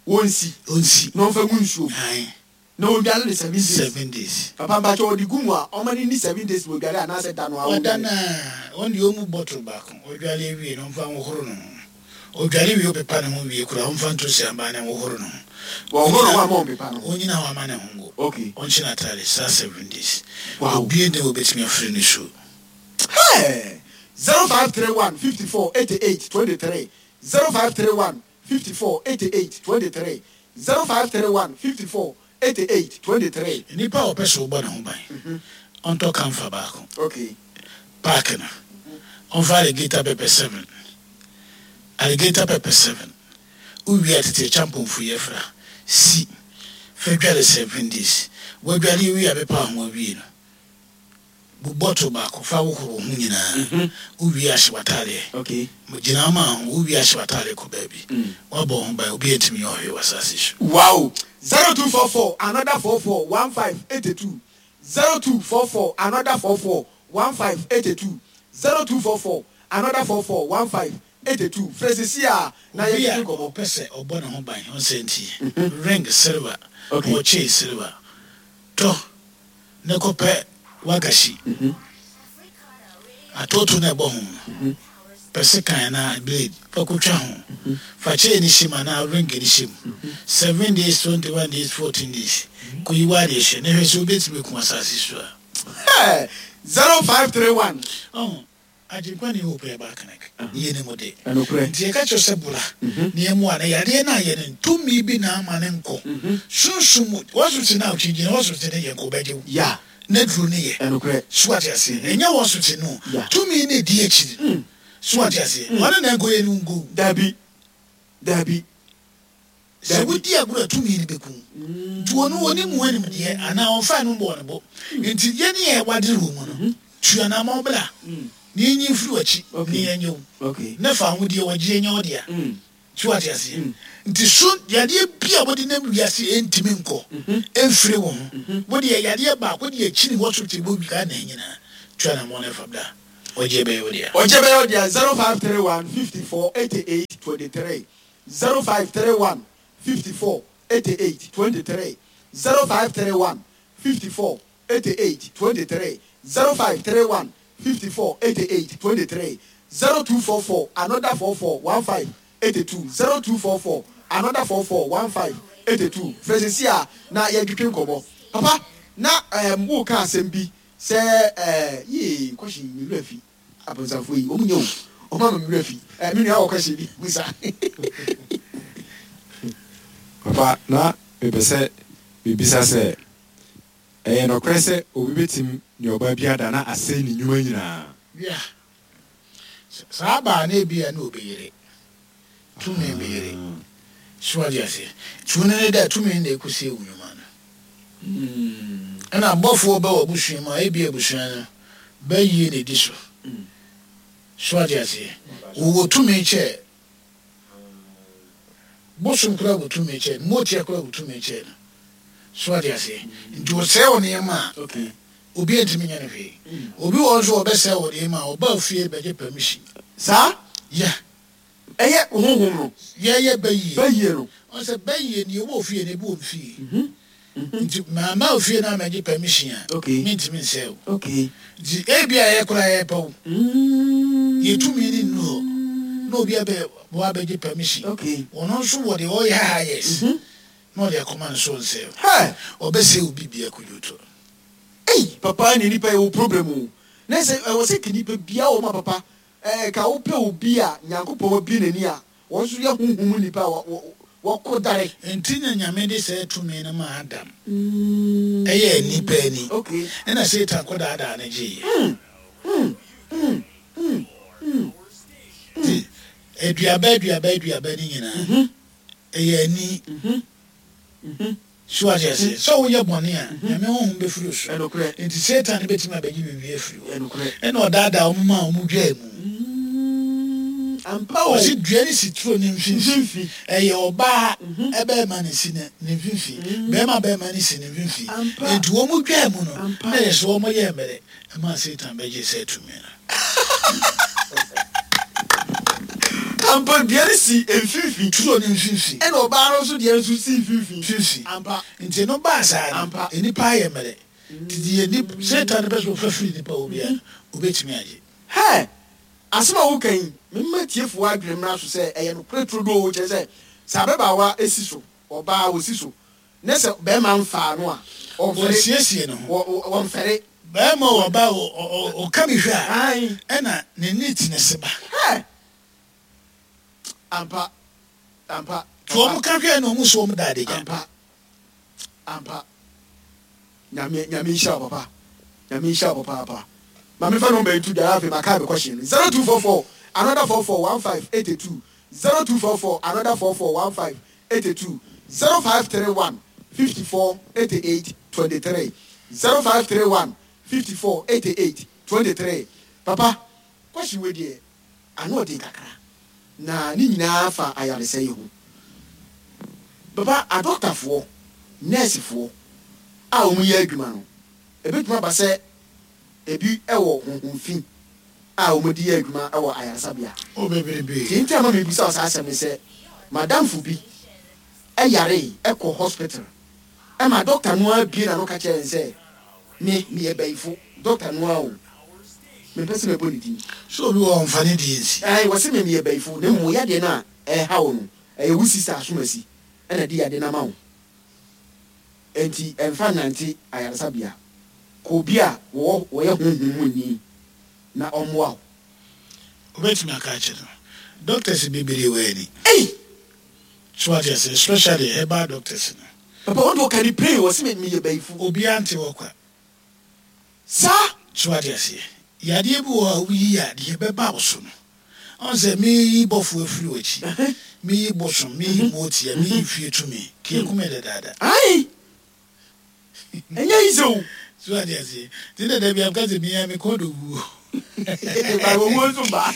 Speaker 2: Wonsi.
Speaker 1: Onsi.
Speaker 2: Na ɔmfa ngu nsuom.
Speaker 1: Ae.
Speaker 2: Na ɔndware no seven days.
Speaker 1: Seven days.
Speaker 2: Papa mpakyɛ ɔde gu mu a ɔma no nni seven days na ɔdware anaasɛ da no ara
Speaker 1: Ɔda
Speaker 2: ɔndware?
Speaker 1: no a, ɔno deɛ ɔmmu bottle baako. Ɔdware awie no ɔmfa nhohoro ne ho. Ɔdware wie ɔpepa ne ho wie koraa ɔmfa ntosi ahaban no nhohoro ne ho.
Speaker 2: Wɔnhohoro ne ho ama ɔmpepa no?
Speaker 1: Ɔnnyina hɔ ama ne ho ngo.
Speaker 2: Okay.
Speaker 1: Ɔnhyɛ n'ataade saa seven days.
Speaker 2: Wow.
Speaker 1: Obiara nni hɔ a ɔbɛtumi afiri ne su.
Speaker 2: Hey! Zero five three one fifty four eighty eight twenty three zero five three one fifty four eighty eight twenty three zero five three one fifty four eighty eight twenty three.
Speaker 1: Nipa a ɔpɛ sɛ ɔbɔ ne ho ban, ɔntɔ camphor baako.
Speaker 2: Okay.
Speaker 1: Pack no, ɔmfa alligator pepper seven, alligator pepper seven. Wowie a tete kyampɔnfo yɛ fra, si, fa dware seven days. Woadware awie a bɛpa ho awie no, bu bottle baako fa wohoro wo ho nyinaa. Wowie a hyɛ w'ataadeɛ.
Speaker 2: Okay.
Speaker 1: Gyina ma ho, wowie a hyɛ w'ataadeɛ kɔ baabi. Woabɔ wo ho ban, obiara ntumi nyɛ ɔhwee wɔ asase so.
Speaker 2: Wow! Zero two four four another four four one five eighty two zero two four four another four four one five eighty two zero two four four another four four one five eighty two Frɛ sisi a na
Speaker 1: Obi a
Speaker 2: yɛntwetwe nkɔmmɔ.
Speaker 1: ɔpɛ sɛ ɔbɔ ne ho ban, ɔnsɛ nti, ring silver,
Speaker 2: Okay.
Speaker 1: ɔkyee silver, tɔ ne kɔpɛ wagashi. Atoto na ɛbɔ ho no, pɛ sekan anaa blade fa kotwa ho. Fa chain no hyɛ mu anaa ring no hyɛ mu. Seven days, twenty one days, fourteen days. Kɔyi w'adeɛ hyɛ na hwɛ sɛ wobɛtumi aku asase so a.
Speaker 2: Hey! Zero five three one.
Speaker 1: Ɔho, Agyenkwa New Hope Herbal Clinic, yɛ ne mu de.
Speaker 2: Ɛnokorɛ.
Speaker 1: Nti yɛka kyerɛ sɛ bra na yɛmmoa no. Yadeɛ no a yɛ no, tumi bi na ama ne nkɔ. Sunsum mu, hospital no a wokyinkyini, hospital no yɛ nkɔ bɛgye wo.
Speaker 2: Yeah.
Speaker 1: Na duro no yɛ.
Speaker 2: Ɛnokorɛ.
Speaker 1: So ate aseɛ. Ɛnyɛ hospital no.
Speaker 2: Yeah.
Speaker 1: Tumi no edi akyiri. So ate aseɛ. Ɔno na nkɔ yɛ no nkɔ.
Speaker 2: Dabi. Dabi.
Speaker 1: Sɛ wodi agorɔ a tumi no bɛku. Nti wɔn wɔn mu animdeɛ anaa ɔmfa no mbɔ ne bo. Nti yɛne yɛ wadere wɔ mu no, tua n'ama ɔbra. Na yɛnyi mfiri w'akyi na yɛnyɛ wo.
Speaker 2: Okay.
Speaker 1: Ne fa ahodeɛ wɔgye nyɛ wo dea. So ate aseɛ. Nti so yadeɛ bi a wɔde nam wiase ɛntumi nkɔ ɛmfiri wo ho. Wode yɛ yadeɛ baako de akyini hospital wɔ wi Ghana nyinaa. Tua n'ama ne fa bra. Ɔgye bɛyɛ wo dea.
Speaker 2: Ɔgye bɛyɛ wo dea. zero five three one fifty four eighty eight twenty three zero five three one fifty four eighty eight twenty three zero five three one fifty four eighty eight twenty three zero five three one fifty four eighty eight twenty three zero two four four another four four one five eighty two zero two four four another four four one five eighty two. Frɛ seesei a na yɛntwetwe nkɔmmɔ. Papa, na ɛɛm woreka asɛm bi sɛ ɛɛ yee kɔhye me werɛ afi. Abonsamfoɔ yi wɔn nyɛ o, wɔn ama me werɛ afi. Ɛɛ me nua wɔ kɔhye bi busa.
Speaker 3: Papa, na mepɛ sɛ mebisa sɛ, ɛyɛ nɔkorɛ sɛ obi bɛtim ne ɔbaa bi ada na asɛe ne nnwuma nyinaa?
Speaker 1: Yeah. Saa baa no ebia na obi yere. Tumi bi yere. So wate aseɛ? Tumi no ne dɛ tumi no na ɛkɔsie wo nnwuma no. Ɛna abɔfoɔ bɛ w'abusua mu a ebia abusua no bɛyie na ɛdi so. So wate aseɛ? Wɔwɔ tumi kyɛ bosom koraa wɔ tumi kyɛ no, motia koraa wɔ tumi kyɛ no. So wate aseɛ? Nti wɔsɛe wo nneɛma a,
Speaker 2: Okay.
Speaker 1: obi ntumi nyɛ no hwee. Obi wɔ hɔ nso a ɔbɛsɛe wo nneɛma a, ɔba fie bɛgye permission.
Speaker 2: Saa?
Speaker 1: Yeah.
Speaker 2: Ɛyɛ honhom no.
Speaker 1: Yɛyɛ bɛyie.
Speaker 2: Bɛyie no.
Speaker 1: Ɔn sɛ bɛyie deɛ ɛwɔ ofie no ebi wɔ mfie. Nti mamma ofie no ammɛgye permission a,
Speaker 2: Okay.
Speaker 1: mentumi nsɛe wo.
Speaker 2: Okay.
Speaker 1: Nti ebi a yɛ koraa yɛpɛ wo. Yɛ tumi no nnu hɔ. Na obi abɛ wɔ abɛgye permission.
Speaker 2: Okay.
Speaker 1: Ɔno nso wɔ deɛ ɔyɛ ha yes. Na ɔde akɔma no so ɔnsɛe wo.
Speaker 2: Hey!
Speaker 1: Ɔbɛsɛe wo biribiara kodwo to.
Speaker 2: Ei! Papa ne nipa yɛ wo problem o. Na sɛ ɛwɔ sɛ ka nipa biara wɔ ma papa. Ɛɛ ka wopɛ obi a Nyankopɔn abue n'ani a wɔn nso yɛ honhom mu nipa a wɔkɔ dare.
Speaker 1: Nti na Nyame de saa tumi no maa Adam. Ɛyɛɛ nnipa ani.
Speaker 2: Okay.
Speaker 1: Ɛna Satan kɔdaadaa no gyeeɛ. Nti aduaba aduaba aduaba no nyinaa ɛyɛ ani. So wate aseɛ? Sɛ woyɛ bɔne a, Nyame honhom bɛfiri wo so.
Speaker 2: Ɛnokorɛ.
Speaker 1: Nti Satan bɛtumi abɛgye biribi afiri hɔ.
Speaker 2: Ɛnokorɛ.
Speaker 1: Ɛna ɔdaadaa wɔn maa wɔn dwaa mu.
Speaker 2: Ampa o.
Speaker 1: Ɔse dua no si turo no mfimfini.
Speaker 2: Mfimfini.
Speaker 1: Ɛyɛ ɔbaa bɛrima na esi ne ne mfimfini. Bɛrima bɛrima no si ne mfimfini.
Speaker 2: Ampa.
Speaker 1: Nti wɔn dwaa mu no,
Speaker 2: Ampa.
Speaker 1: na ɛyɛ sɛ wɔn yɛɛ mmerɛ ɛmaa Satan bɛgyee saa tumi no.
Speaker 2: Ampa, dua no si mfimfini.
Speaker 1: Turo no mfimfini.
Speaker 2: Ɛna ɔbaa no nso deɛ nso si mfimfini.
Speaker 1: Mfimfini.
Speaker 2: Ampa.
Speaker 1: Nti no baa saa no,
Speaker 2: Ampa.
Speaker 1: nnipa ayɛ mmerɛ. Nti deɛ nip Satan pɛ sɛ ɔfa firi nipa hɔ biara no, obɛtumi agye.
Speaker 2: Hɛ! Asɛm a woka yi, memma tiefoɔ adwene mmra so sɛ ɛyɛ nokorɛ turodoo, kyerɛ sɛ, sɛ ababaawa si so, ɔbaa ɔsi so, ne sɛ bɛrima mfaa no a, ɔmfɛre.
Speaker 1: Ɔnsiesie ne ho.
Speaker 2: Wɔ, wɔ, wɔmfɛre.
Speaker 1: Bɛrima o, ɔbaa o, ɔ, ɔ, ɔka bi hwɛ a,
Speaker 2: Ae.
Speaker 1: ɛna ne neatness ba.
Speaker 2: Hɛ! Ampa. Ampa.
Speaker 1: Nti wɔn ka hwɛ na wɔn so wɔn da adagya.
Speaker 2: Ampa. Ampa. Nyame, Nyame nhyira wo papa. Nyame nhyira wo papaapa. Ma mefa number yi to dwa afei maka me question no. zero two four four another four four one five eight two zero two four four another four four one five eight two zero five three one fifty four eighty eight twenty three zero five three one fifty four eighty eight twenty three. Papa, question wei deɛ ano ɔden kakra na ne nyinaa fa ayaresa yi ho. Papa, adɔktafoɔ, nɛɛsefoɔ a wɔn yɛ adwuma no, ebetumi aba sɛ ebi wɔ honhom fi a wɔn de yɛ adwuma wɔ ayaresabea.
Speaker 1: O bebrebe.
Speaker 2: Deɛ nti a ma mebisa wo saa asɛm ne sɛ, madamfo bi ɛyare ɛkɔ hospital ɛma dɔkta no ara bie n'ano ka kyerɛ no sɛ me meyɛ bɛyifo. Dɔkta no ara o, mempɛ sɛ mɛbɔ ne din.
Speaker 1: So obi wɔ ɔmfa ne deɛ nsi.
Speaker 2: Ɛn, wɔse me meyɛ bɛyifo na mmom yadeɛ no a ɛha wo no, ɛyɛ wo sista asomasi ɛna de yadeɛ no ama wo. Enti ɛmfa nnante ayaresabea. Kɔ obi a wɔwɔ wɔyɛ honhom mu ni na ɔmmoa wo.
Speaker 1: Wobɛtumi aka akyerɛ no. Doctors bebree wɔ ani.
Speaker 2: Ei!
Speaker 1: So wate ase, especially herbal doctors no.
Speaker 2: Papa, wɔn de ɔka ne pray, wɔse me meyɛ bɛyifo.
Speaker 1: Obiara nte hɔ kwa.
Speaker 2: Saa?
Speaker 1: So wate aseɛ. Yadeɛ bi wɔ hɔ a woyi a deɛ ɛbɛba wo so no. Ɔn sɛ meyi bɔfoɔ afiri w'akyi. Meyi bosom, meyi mootia, meyi fie tumi. Keekume dadaada.
Speaker 2: Ae! Ɛnyɛ easy o.
Speaker 1: So wate aseɛ. Nti na da bi a meka sɛ mia me kɔn dɔ wuo.
Speaker 2: Ba owuo nso mba.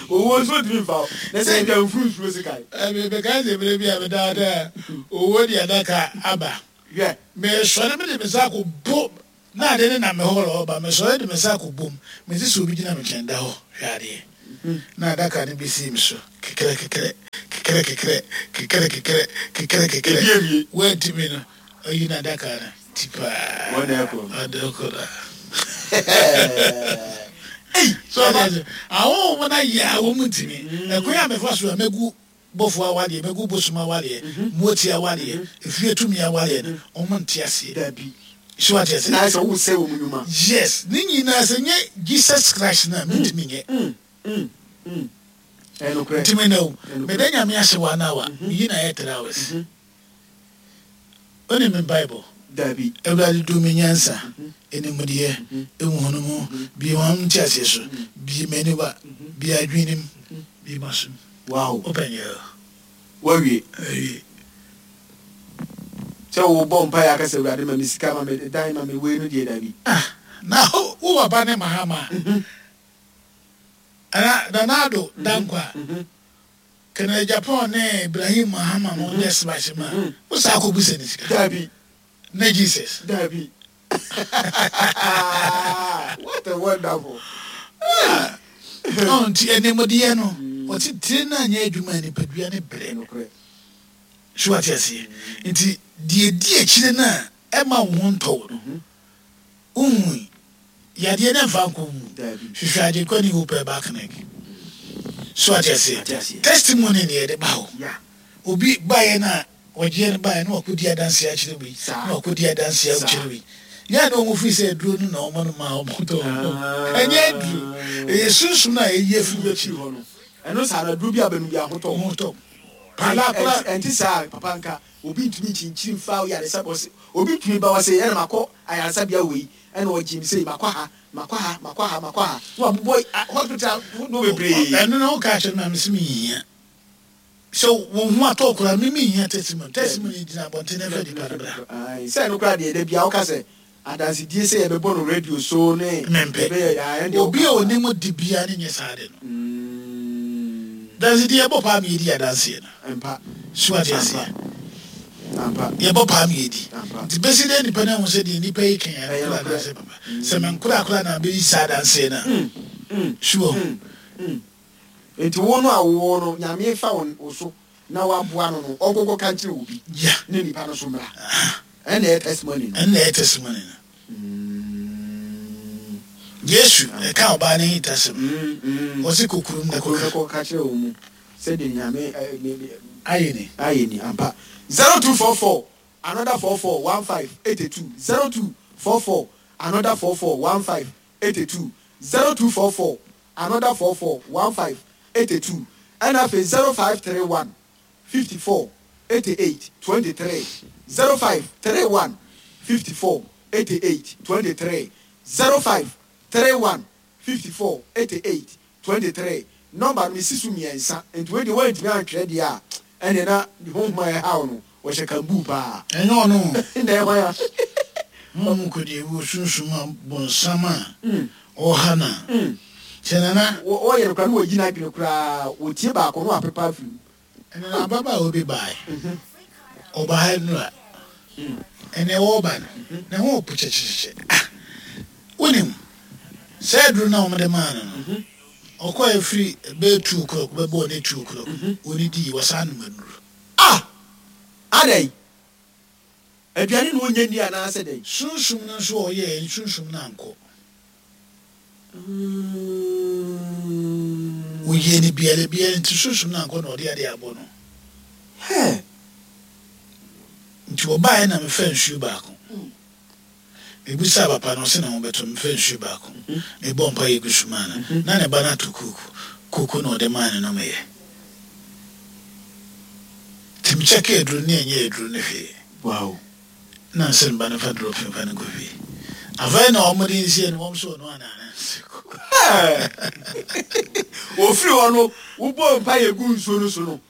Speaker 2: Owuo nso ntumi mfa wo. Na sɛ ntwa mfuru nsuo sekan.
Speaker 1: Ɛmi meka sɛ mmerɛ bi a medaadaa owuo de adaka aba.
Speaker 2: Hwɛ.
Speaker 1: Mesɔre mede me nsa akɔbɔ Na ade ne nam me hɔ reba. Mesɔre de me nsa akɔbom. Mete sɛ obi gyina me nkyɛn da hɔ hwɛ adeɛ. Na adaka no bɛsii me so kekrɛ kekrɛ kekrɛ kekrɛ kekrɛ kekrɛ kekrɛ kekrɛ.
Speaker 2: Ebi awie.
Speaker 1: Woantumi no, ɔyi n'adaka no ti paa.
Speaker 2: Wɔn na ɛkɔ no.
Speaker 1: Ɔde kɔ no.
Speaker 2: Ei!
Speaker 1: So ɔde ase. Ahonhom no ayɛ a wɔn ntumi. Ɛkwan a mefa so a mɛgu bɔfo awadeɛ, mɛgu bosom awadeɛ, mmoatia awadeɛ, efie tumi awadeɛ no, wɔn nte aseɛ.
Speaker 2: Dabi.
Speaker 1: So wate aseɛ?
Speaker 2: Na ayɛ sɛ wosɛe wɔn nnwuma.
Speaker 1: Yes, ne nyinaa sɛ nyɛ Jesus Christ no a, mentumi nyɛ.
Speaker 2: Mm, mm, mm. Ɛyɛ nokorɛ.
Speaker 1: Nti me na o,
Speaker 2: Ɛyɛ nokorɛ.
Speaker 1: meda Nyame ase one hour, meyi no ayɛ three hours. Wonim me mpaebɔ?
Speaker 2: Dabi.
Speaker 1: Awurade dom me nyansa, animdeɛ, nhunumu, bue m'ano nteaseɛ so, bue m'aniwa, bue adwenem, bue m'asom.
Speaker 2: Wow.
Speaker 1: Open your.
Speaker 2: Woawie.
Speaker 1: Awie.
Speaker 2: Sɛ wobɔ mpaeɛ aka sɛ Awurade ma me sika, ma me dan, ma me wei no deɛ dabi.
Speaker 1: Ah, na wo papa ne Mahama a, ana Nana Addo Dankwa, Kennedy Agyapong ne Ibrahim Mahama mo nyɛ smash ma, wo saa kɔ bisa ne sika?
Speaker 2: Dabi.
Speaker 1: Ne Jesus.
Speaker 2: Dabi. What a wonderful.
Speaker 1: Ah, oh, nti animdeɛ no, ɔte tire no anyɛ adwuma a nipadua ne brɛ.
Speaker 2: Nokorɛ.
Speaker 1: So wate aseɛ? Nti deɛ di akyire no a ɛma wo ho ntɔ wo no, wohui yadeɛ no mfa nkɔ wo mu.
Speaker 2: Dabi.
Speaker 1: Hwehwɛ Agyenkwa ne Hope Herbal Clinic. So wate aseɛ?
Speaker 2: Ate aseɛ.
Speaker 1: Testimony ne yɛde ba hɔ.
Speaker 2: Yeah.
Speaker 1: Obi baeɛ no a wɔgyeɛ no baeɛ na wakɔdi adanseɛ akyerɛ wei,
Speaker 2: Saa.
Speaker 1: na wakɔdi adanseɛ
Speaker 2: Saa.
Speaker 1: akyerɛ wei. Yɛa na wɔn firi sɛ aduro no na wɔn no ma wɔn tɔ. Ɛnyɛ aduro. Ɛyɛ sunsum no a ɛyi afiri
Speaker 2: Afiri
Speaker 1: w'akyi.
Speaker 2: hɔ no. Ɛno saa no aduro bi a bɛnum bi ahotɔ.
Speaker 1: Ho tɔ. Pala koraa.
Speaker 2: Ɛnti saa papa nka obi ntumi nkyinkyini mfa yaresa ɔse obi ntumi ba ɔse ɛna makɔ ayaresabea wei ɛna ɔgye me sei makɔ ha makɔ ha makɔ ha makɔ ha na wabobɔ a- hospital ahodoɔ bebree.
Speaker 1: Ɛno na woka kyerɛ me a mese menhia. Sɛ wo ho atɔ koraa me menhia testimony. Testimony gyina abɔnten na ɛfɛ nipa no bra.
Speaker 2: Ae, sɛ ɛno koraa deɛ da bia woka sɛ adansedie sɛ yɛbɛbɔ no radio so ne
Speaker 1: Mempɛ.
Speaker 2: yɛbɛyɛ ah, ɛno deɛ
Speaker 1: Obi a
Speaker 2: woka.
Speaker 1: onim di biara ne nyɛ saa de no.
Speaker 2: Mm,
Speaker 1: Dansedie yɛbɔ paa ma yɛdi adanseɛ no.
Speaker 2: Ampa.
Speaker 1: So ate aseɛ.
Speaker 2: Ampa.
Speaker 1: Yɛbɔ paa ma yɛdi.
Speaker 2: Ampa.
Speaker 1: Nti bɛsi dɛ nipa no ahu sɛ deɛ nipa yi kan
Speaker 2: Ɛyɛ
Speaker 1: yɛ
Speaker 2: nokorɛ.
Speaker 1: adanseɛ papa. Sɛ menkora koraa na bɛyi saa adanseɛ no a.
Speaker 2: Mm, mm,
Speaker 1: So wɔ
Speaker 2: mm, mm. Nti wo no a wowɔ no Nyame fa wo wo so na waboa no no ɔnkɔkɔ ka nkyerɛ obi
Speaker 1: Ya.
Speaker 2: ne nipa no so mmra. Ɛna ɛyɛ testimony no.
Speaker 1: Ɛnna ɛyɛ testimony no.
Speaker 2: Mm.
Speaker 1: Yesu ɛka ɔbaa ne hintasɛm.
Speaker 2: Mm, mm.
Speaker 1: Ɔse kɔ kurom na
Speaker 2: Kuro
Speaker 1: kɔka.
Speaker 2: no kɔka kyerɛ wo mu sɛdeɛ Nyame ɛ, ne- ne-
Speaker 1: Ayɛ ni.
Speaker 2: ayɛ ni ampa. Zero two four four another four four one five eighty two zero two four four another four four one five eighty two zero two four four another four four one five eighty two ɛna afei zero five three one fifty four eighty eight twenty three zero five three one fifty four eighty eight twenty three zero five three one fifty four eighty eight twenty three nɔmba no mesi so mmiɛnsa nti wei deɛ wɔntumi antwerɛ deɛ a ɛnna na ne honhom a ɛhaw no wɔhyɛ kambuu paa
Speaker 1: Ɛnyɛ ɔno.
Speaker 2: na ɛhwan a
Speaker 1: Honhom kɔdi ewu sunsum a bonsam a
Speaker 2: Mm,
Speaker 1: ɔha no a.
Speaker 2: mm.
Speaker 1: Kyɛ nana
Speaker 2: Wɔ- wɔyɛ no koraa na wɔyi n'adwene koraa wɔtie baako na wapepa afiri mu
Speaker 1: ɛnna na ababaawa bi baeɛ. Ɔbaa ha nnura. Ɛnna wɔreba no, ne ho po kyekyekyekye. Ah! Wonim, saa aduro no a wɔde maa no no, ɔkɔɔ efiri bɛyɛ two o'clock bɛbɔɔ ne two o'clock. Onidii, wɔsan nom aduro.
Speaker 2: ah adɛn aduane na ɔnya ni anaasɛ dɛn
Speaker 1: Sunsum no nso a ɔyɛɛ sunsum no ankɔ. Oyie no biara biara nti sunsum no ankɔ na ɔde adeɛ abɔ no.
Speaker 2: Hɛ,
Speaker 1: Nti ɔbaeɛ na mefa nsuo baako. Mebusaa papa no ɔse ne ho bɛtɔ mefa nsuo baako. Mebɔ mpa yɛ gu so maa no. Na ne ba no ato kooko. Kooko na ɔde maa no nomeyɛ. Nti mekyɛkɛ aduro no ne ɛnyɛ aduro no hwee.
Speaker 2: wow
Speaker 1: Na nsɛ ne ba no fa drop mfa no nkɔ fie. Afei na ɔmode nsie no wɔm so ɔno ana ana nse kooko.
Speaker 2: ofiri hɔ no wobɔ mpa yɛ gu nsuo no so no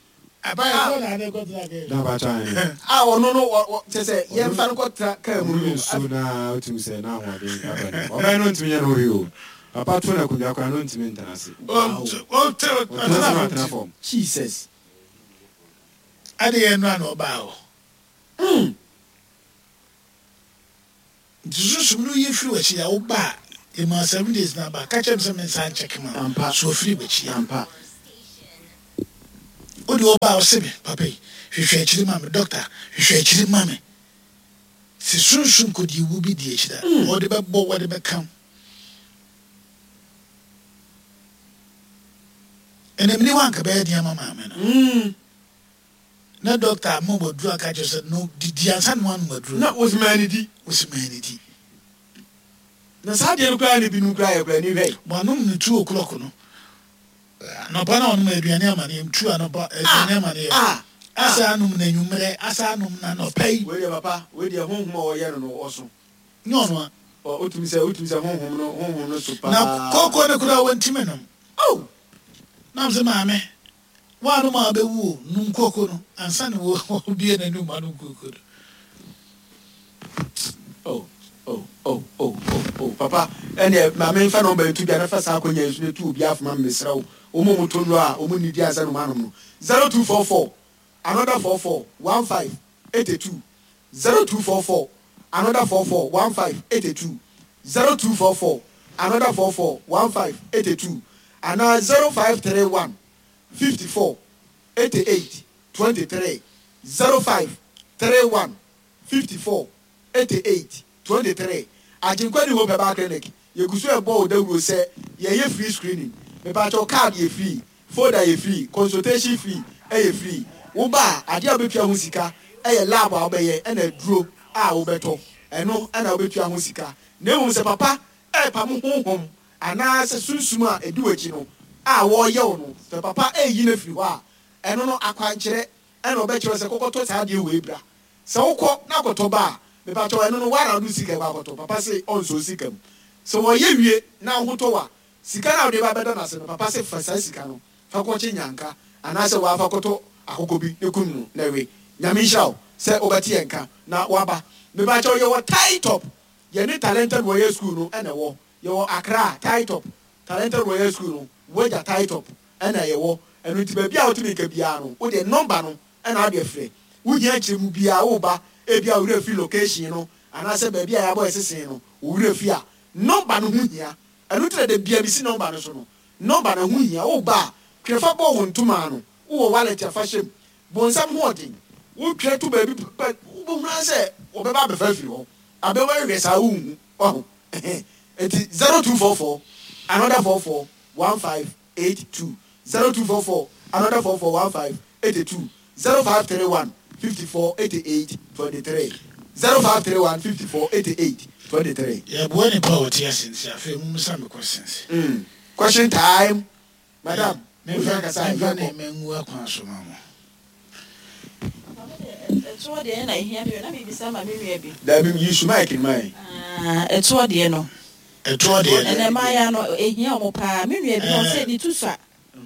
Speaker 1: Abayɛ kɔ na ade kɔtena kɛ.
Speaker 3: Na abacha yɛn.
Speaker 2: a ɔno no wɔ- wɔ- kyɛ sɛ yɛmfa no kɔtena kaa mu
Speaker 3: Ɔno
Speaker 2: no
Speaker 3: nsuo na otumi sɛ na ahoɔden aba ne mu. Ɔbɛn no ntumi nyɛ no hwee o. Papa to na akonnwa koraa no ntumi ntena ase.
Speaker 1: Ɔtena
Speaker 3: Ɔtena ase na ɔtena
Speaker 1: fam.
Speaker 3: fam.
Speaker 2: Jesus
Speaker 1: Ade yɛ nnura na ɔbaa hɔ.
Speaker 2: Mm.
Speaker 1: Nti sunsum no yi firi w'akyi a woba a yɛma seven days na aba ka kyerɛ me sɛ mensa nkyɛke ma
Speaker 2: Ampa.
Speaker 1: so ofiri w'akyi a
Speaker 2: Ampa.
Speaker 1: Wode wɔba a ɔse me papa yi hwehwɛ akyiri ma me, doctor hwehwɛ akyiri ma me. Sɛ sunsum kɔdi wu bi di akyiri a ɔde bɛbɔ, wɔde bɛka. Ɛnam ni hɔ anka bɛyɛ deɛ ama maame no.
Speaker 2: Mm.
Speaker 1: Na doctor ma waduru aka kyerɛ sɛ no didi ansa na wanom aduru.
Speaker 2: Na wosi maa ne di.
Speaker 1: Wosi maa ne di.
Speaker 2: Na saa deɛ no koraa ne binom koraa yɛ koraa ni hwɛ.
Speaker 1: Wanom no two o'clock no anɔpa na ɔnom aduane ama ne yam two anɔpa aduane ama ne yam.
Speaker 2: Ah.
Speaker 1: Asa anom na anwummerɛ, asa anom na anɔpa yi.
Speaker 2: Wei deɛ papa, wei deɛ honhom a ɔyɛ no no ɔso.
Speaker 1: Nyɛ ɔno a.
Speaker 2: Ɔ otumi sɛ otumi sɛ honhom no honhom no so paa.
Speaker 1: Na kooko no koraa wɔntumi nom.
Speaker 2: Oh.
Speaker 1: Nam sɛ maame woanom a wobɛwu o, nom kooko no ansa na wɔbie n'anum anom kooko no.
Speaker 2: Oh oh oh oh oh oh papa, ɛnneɛ maame nfa nɔmba yi to dwa na fa saa akonnwa yi so na tu obi afoma mmesrɛ wo. Wɔn a wɔtɔ nnuro a wɔn nnidi ansa na wɔn anom no, zero two four four another four four one five eighty two, zero two four four another four four one five eighty two, zero two four four another four four one five eighty two anaa zero five three one fifty four eighty eight twenty three, zero five three one fifty four eighty eight twenty three. Agyenkwa New Hope Herbal Clinic, yɛgu so ɛbɔ wo dawuro sɛ yɛyɛ free screening. Mepakyɛw, card yɛ free, folder yɛ free, consultation free ɛyɛ free. Woba a, adeɛ a wobɛtua ho sika ɛyɛ lab a wobɛyɛ ɛna aduro a wobɛtɔ, ɛno ɛna wobɛtua ho sika. Na mmom sɛ papa ɛɛpam honhom anaasɛ sunsum a ɛdi w'akyi no a wɔreyɛ wo no, sɛ papa ɛɛyi no afiri hɔ a, ɛno no akwankyerɛ ɛna ɔbɛkyerɛ sɛ kɔkɔtɔ saa adeɛ wei bra. Sɛ wokɔ na akɔtɔ ba a, mepakyɛw, ɛno no woara wode sika kɔ akɔtɔ. Papa se ɔnsɔ sika mu. Sɛ wɔyɛ wie na wo ho tɔ wo a, sika no a wode ba bɛda no ase no, papa se fa saa sika no fa kɔkye nyanka anaasɛ wɔafa kɔtɔ akokɔ bi ne kum no na we. Nyame nhyira wo sɛ wobɛte yɛn ka na woaba. Mepakyɛw, yɛwɔ Tai Top, yɛne Talented Warrior School no ɛna ɛwɔ. Yɛwɔ Accra Tai Top, Talented Warrior School no wagya Tai Top ɛna yɛwɔ. Ɛno nti baabi a wotumi nka biara no, wode nɔmba no ɛna wode frɛ. Wohia nkyerɛmu biara, woba ebi a wo werɛ fi location no anaasɛ baabi a yɛabɔ ɛsesen no wo werɛ fi a, nɔmba no ho hia. Ɛno nti na da bia mesi nɔmba no so no, nɔmba no ho hia. Woba a, twerɛ fa bɔ wo ntoma no, wowɔ wallet a fa hyɛ mu. Bonsam ho ɔden, wotwerɛ to baabi pɛ, wobɛhunu ara sɛ wɔbɛba abɛfa afiri hɔ. Abɛwɔ ahwɛ saa wonhu waho. Nti zero two four four another four four one five eight two, zero two four four another four four one five eight two, zero five three one fifty four eighty eight twenty three, zero five three one fifty four eighty eight twenty three.
Speaker 1: Yɛboa nipa a ɔte ase nti afei mumisa me questions.
Speaker 2: Mm. Question time, madam.
Speaker 1: Memfa memfa ne mangu akwan so ma mo.
Speaker 4: Ɛtoɔ deɛ na ehia mi na mebisa ma me nua bi.
Speaker 2: Dabi, yi su mic ma yi.
Speaker 4: Ɛtoɔ deɛ no.
Speaker 1: Ɛtoɔ deɛ no.
Speaker 4: Ɛnɛ mmaayɛ no ehia wɔn paa. Me nua bi ɔsɛ ne tu sa.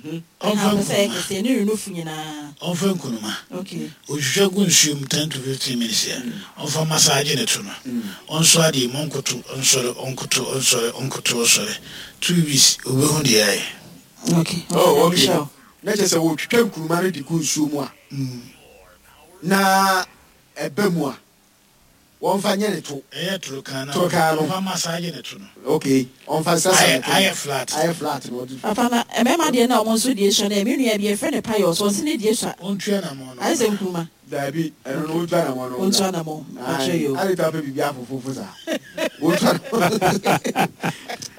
Speaker 1: Ɔmfa
Speaker 4: Ɛna sɛ kɛseɛ ne nufu nyinaa.
Speaker 1: Ɔmfa nkunuma.
Speaker 4: Okay.
Speaker 1: Ohwehwɛ gu nsuo mu ten to fifteen minutes yɛ. Ɔmfa massage ne to no. Ɔnsɔ adeɛ mu, ɔnkoto ɔnsɔre, ɔnkoto ɔnsɔre, ɔnkoto ɔsɔre. Two weeks obehu deɛ ayɛ.
Speaker 4: Okay.
Speaker 2: Oh, okay. Na kyerɛ sɛ wɔtwitwa nkuruma no de gu nsuo mu a, na ɛbɛ mu a, wɔmfa nyɛ ne to.
Speaker 1: Ɛyɛ torokan na
Speaker 2: Torokan no.
Speaker 1: ɔmfa massage ne to no.
Speaker 2: Okay, ɔmfa nsasa ne
Speaker 1: Ayɛ
Speaker 2: to.
Speaker 1: ayɛ flat.
Speaker 2: Ayɛ flat na ɔde.
Speaker 4: Papa, na mmarima deɛ na ɔmo nso deɛ sua no, me nua bi yɛfrɛ no Payɔ so ɔsi ne deɛ sua.
Speaker 1: Ɔntua namɔ no.
Speaker 4: Ayɛ sɛ nkuruma.
Speaker 2: Dabi, ɛno no wotua namɔ no.
Speaker 4: Ɔntua namɔ. Ɔkyerɛ yi o.
Speaker 2: Ayi, ade ta pɛ biribi afofofo saa. Wotua namɔ.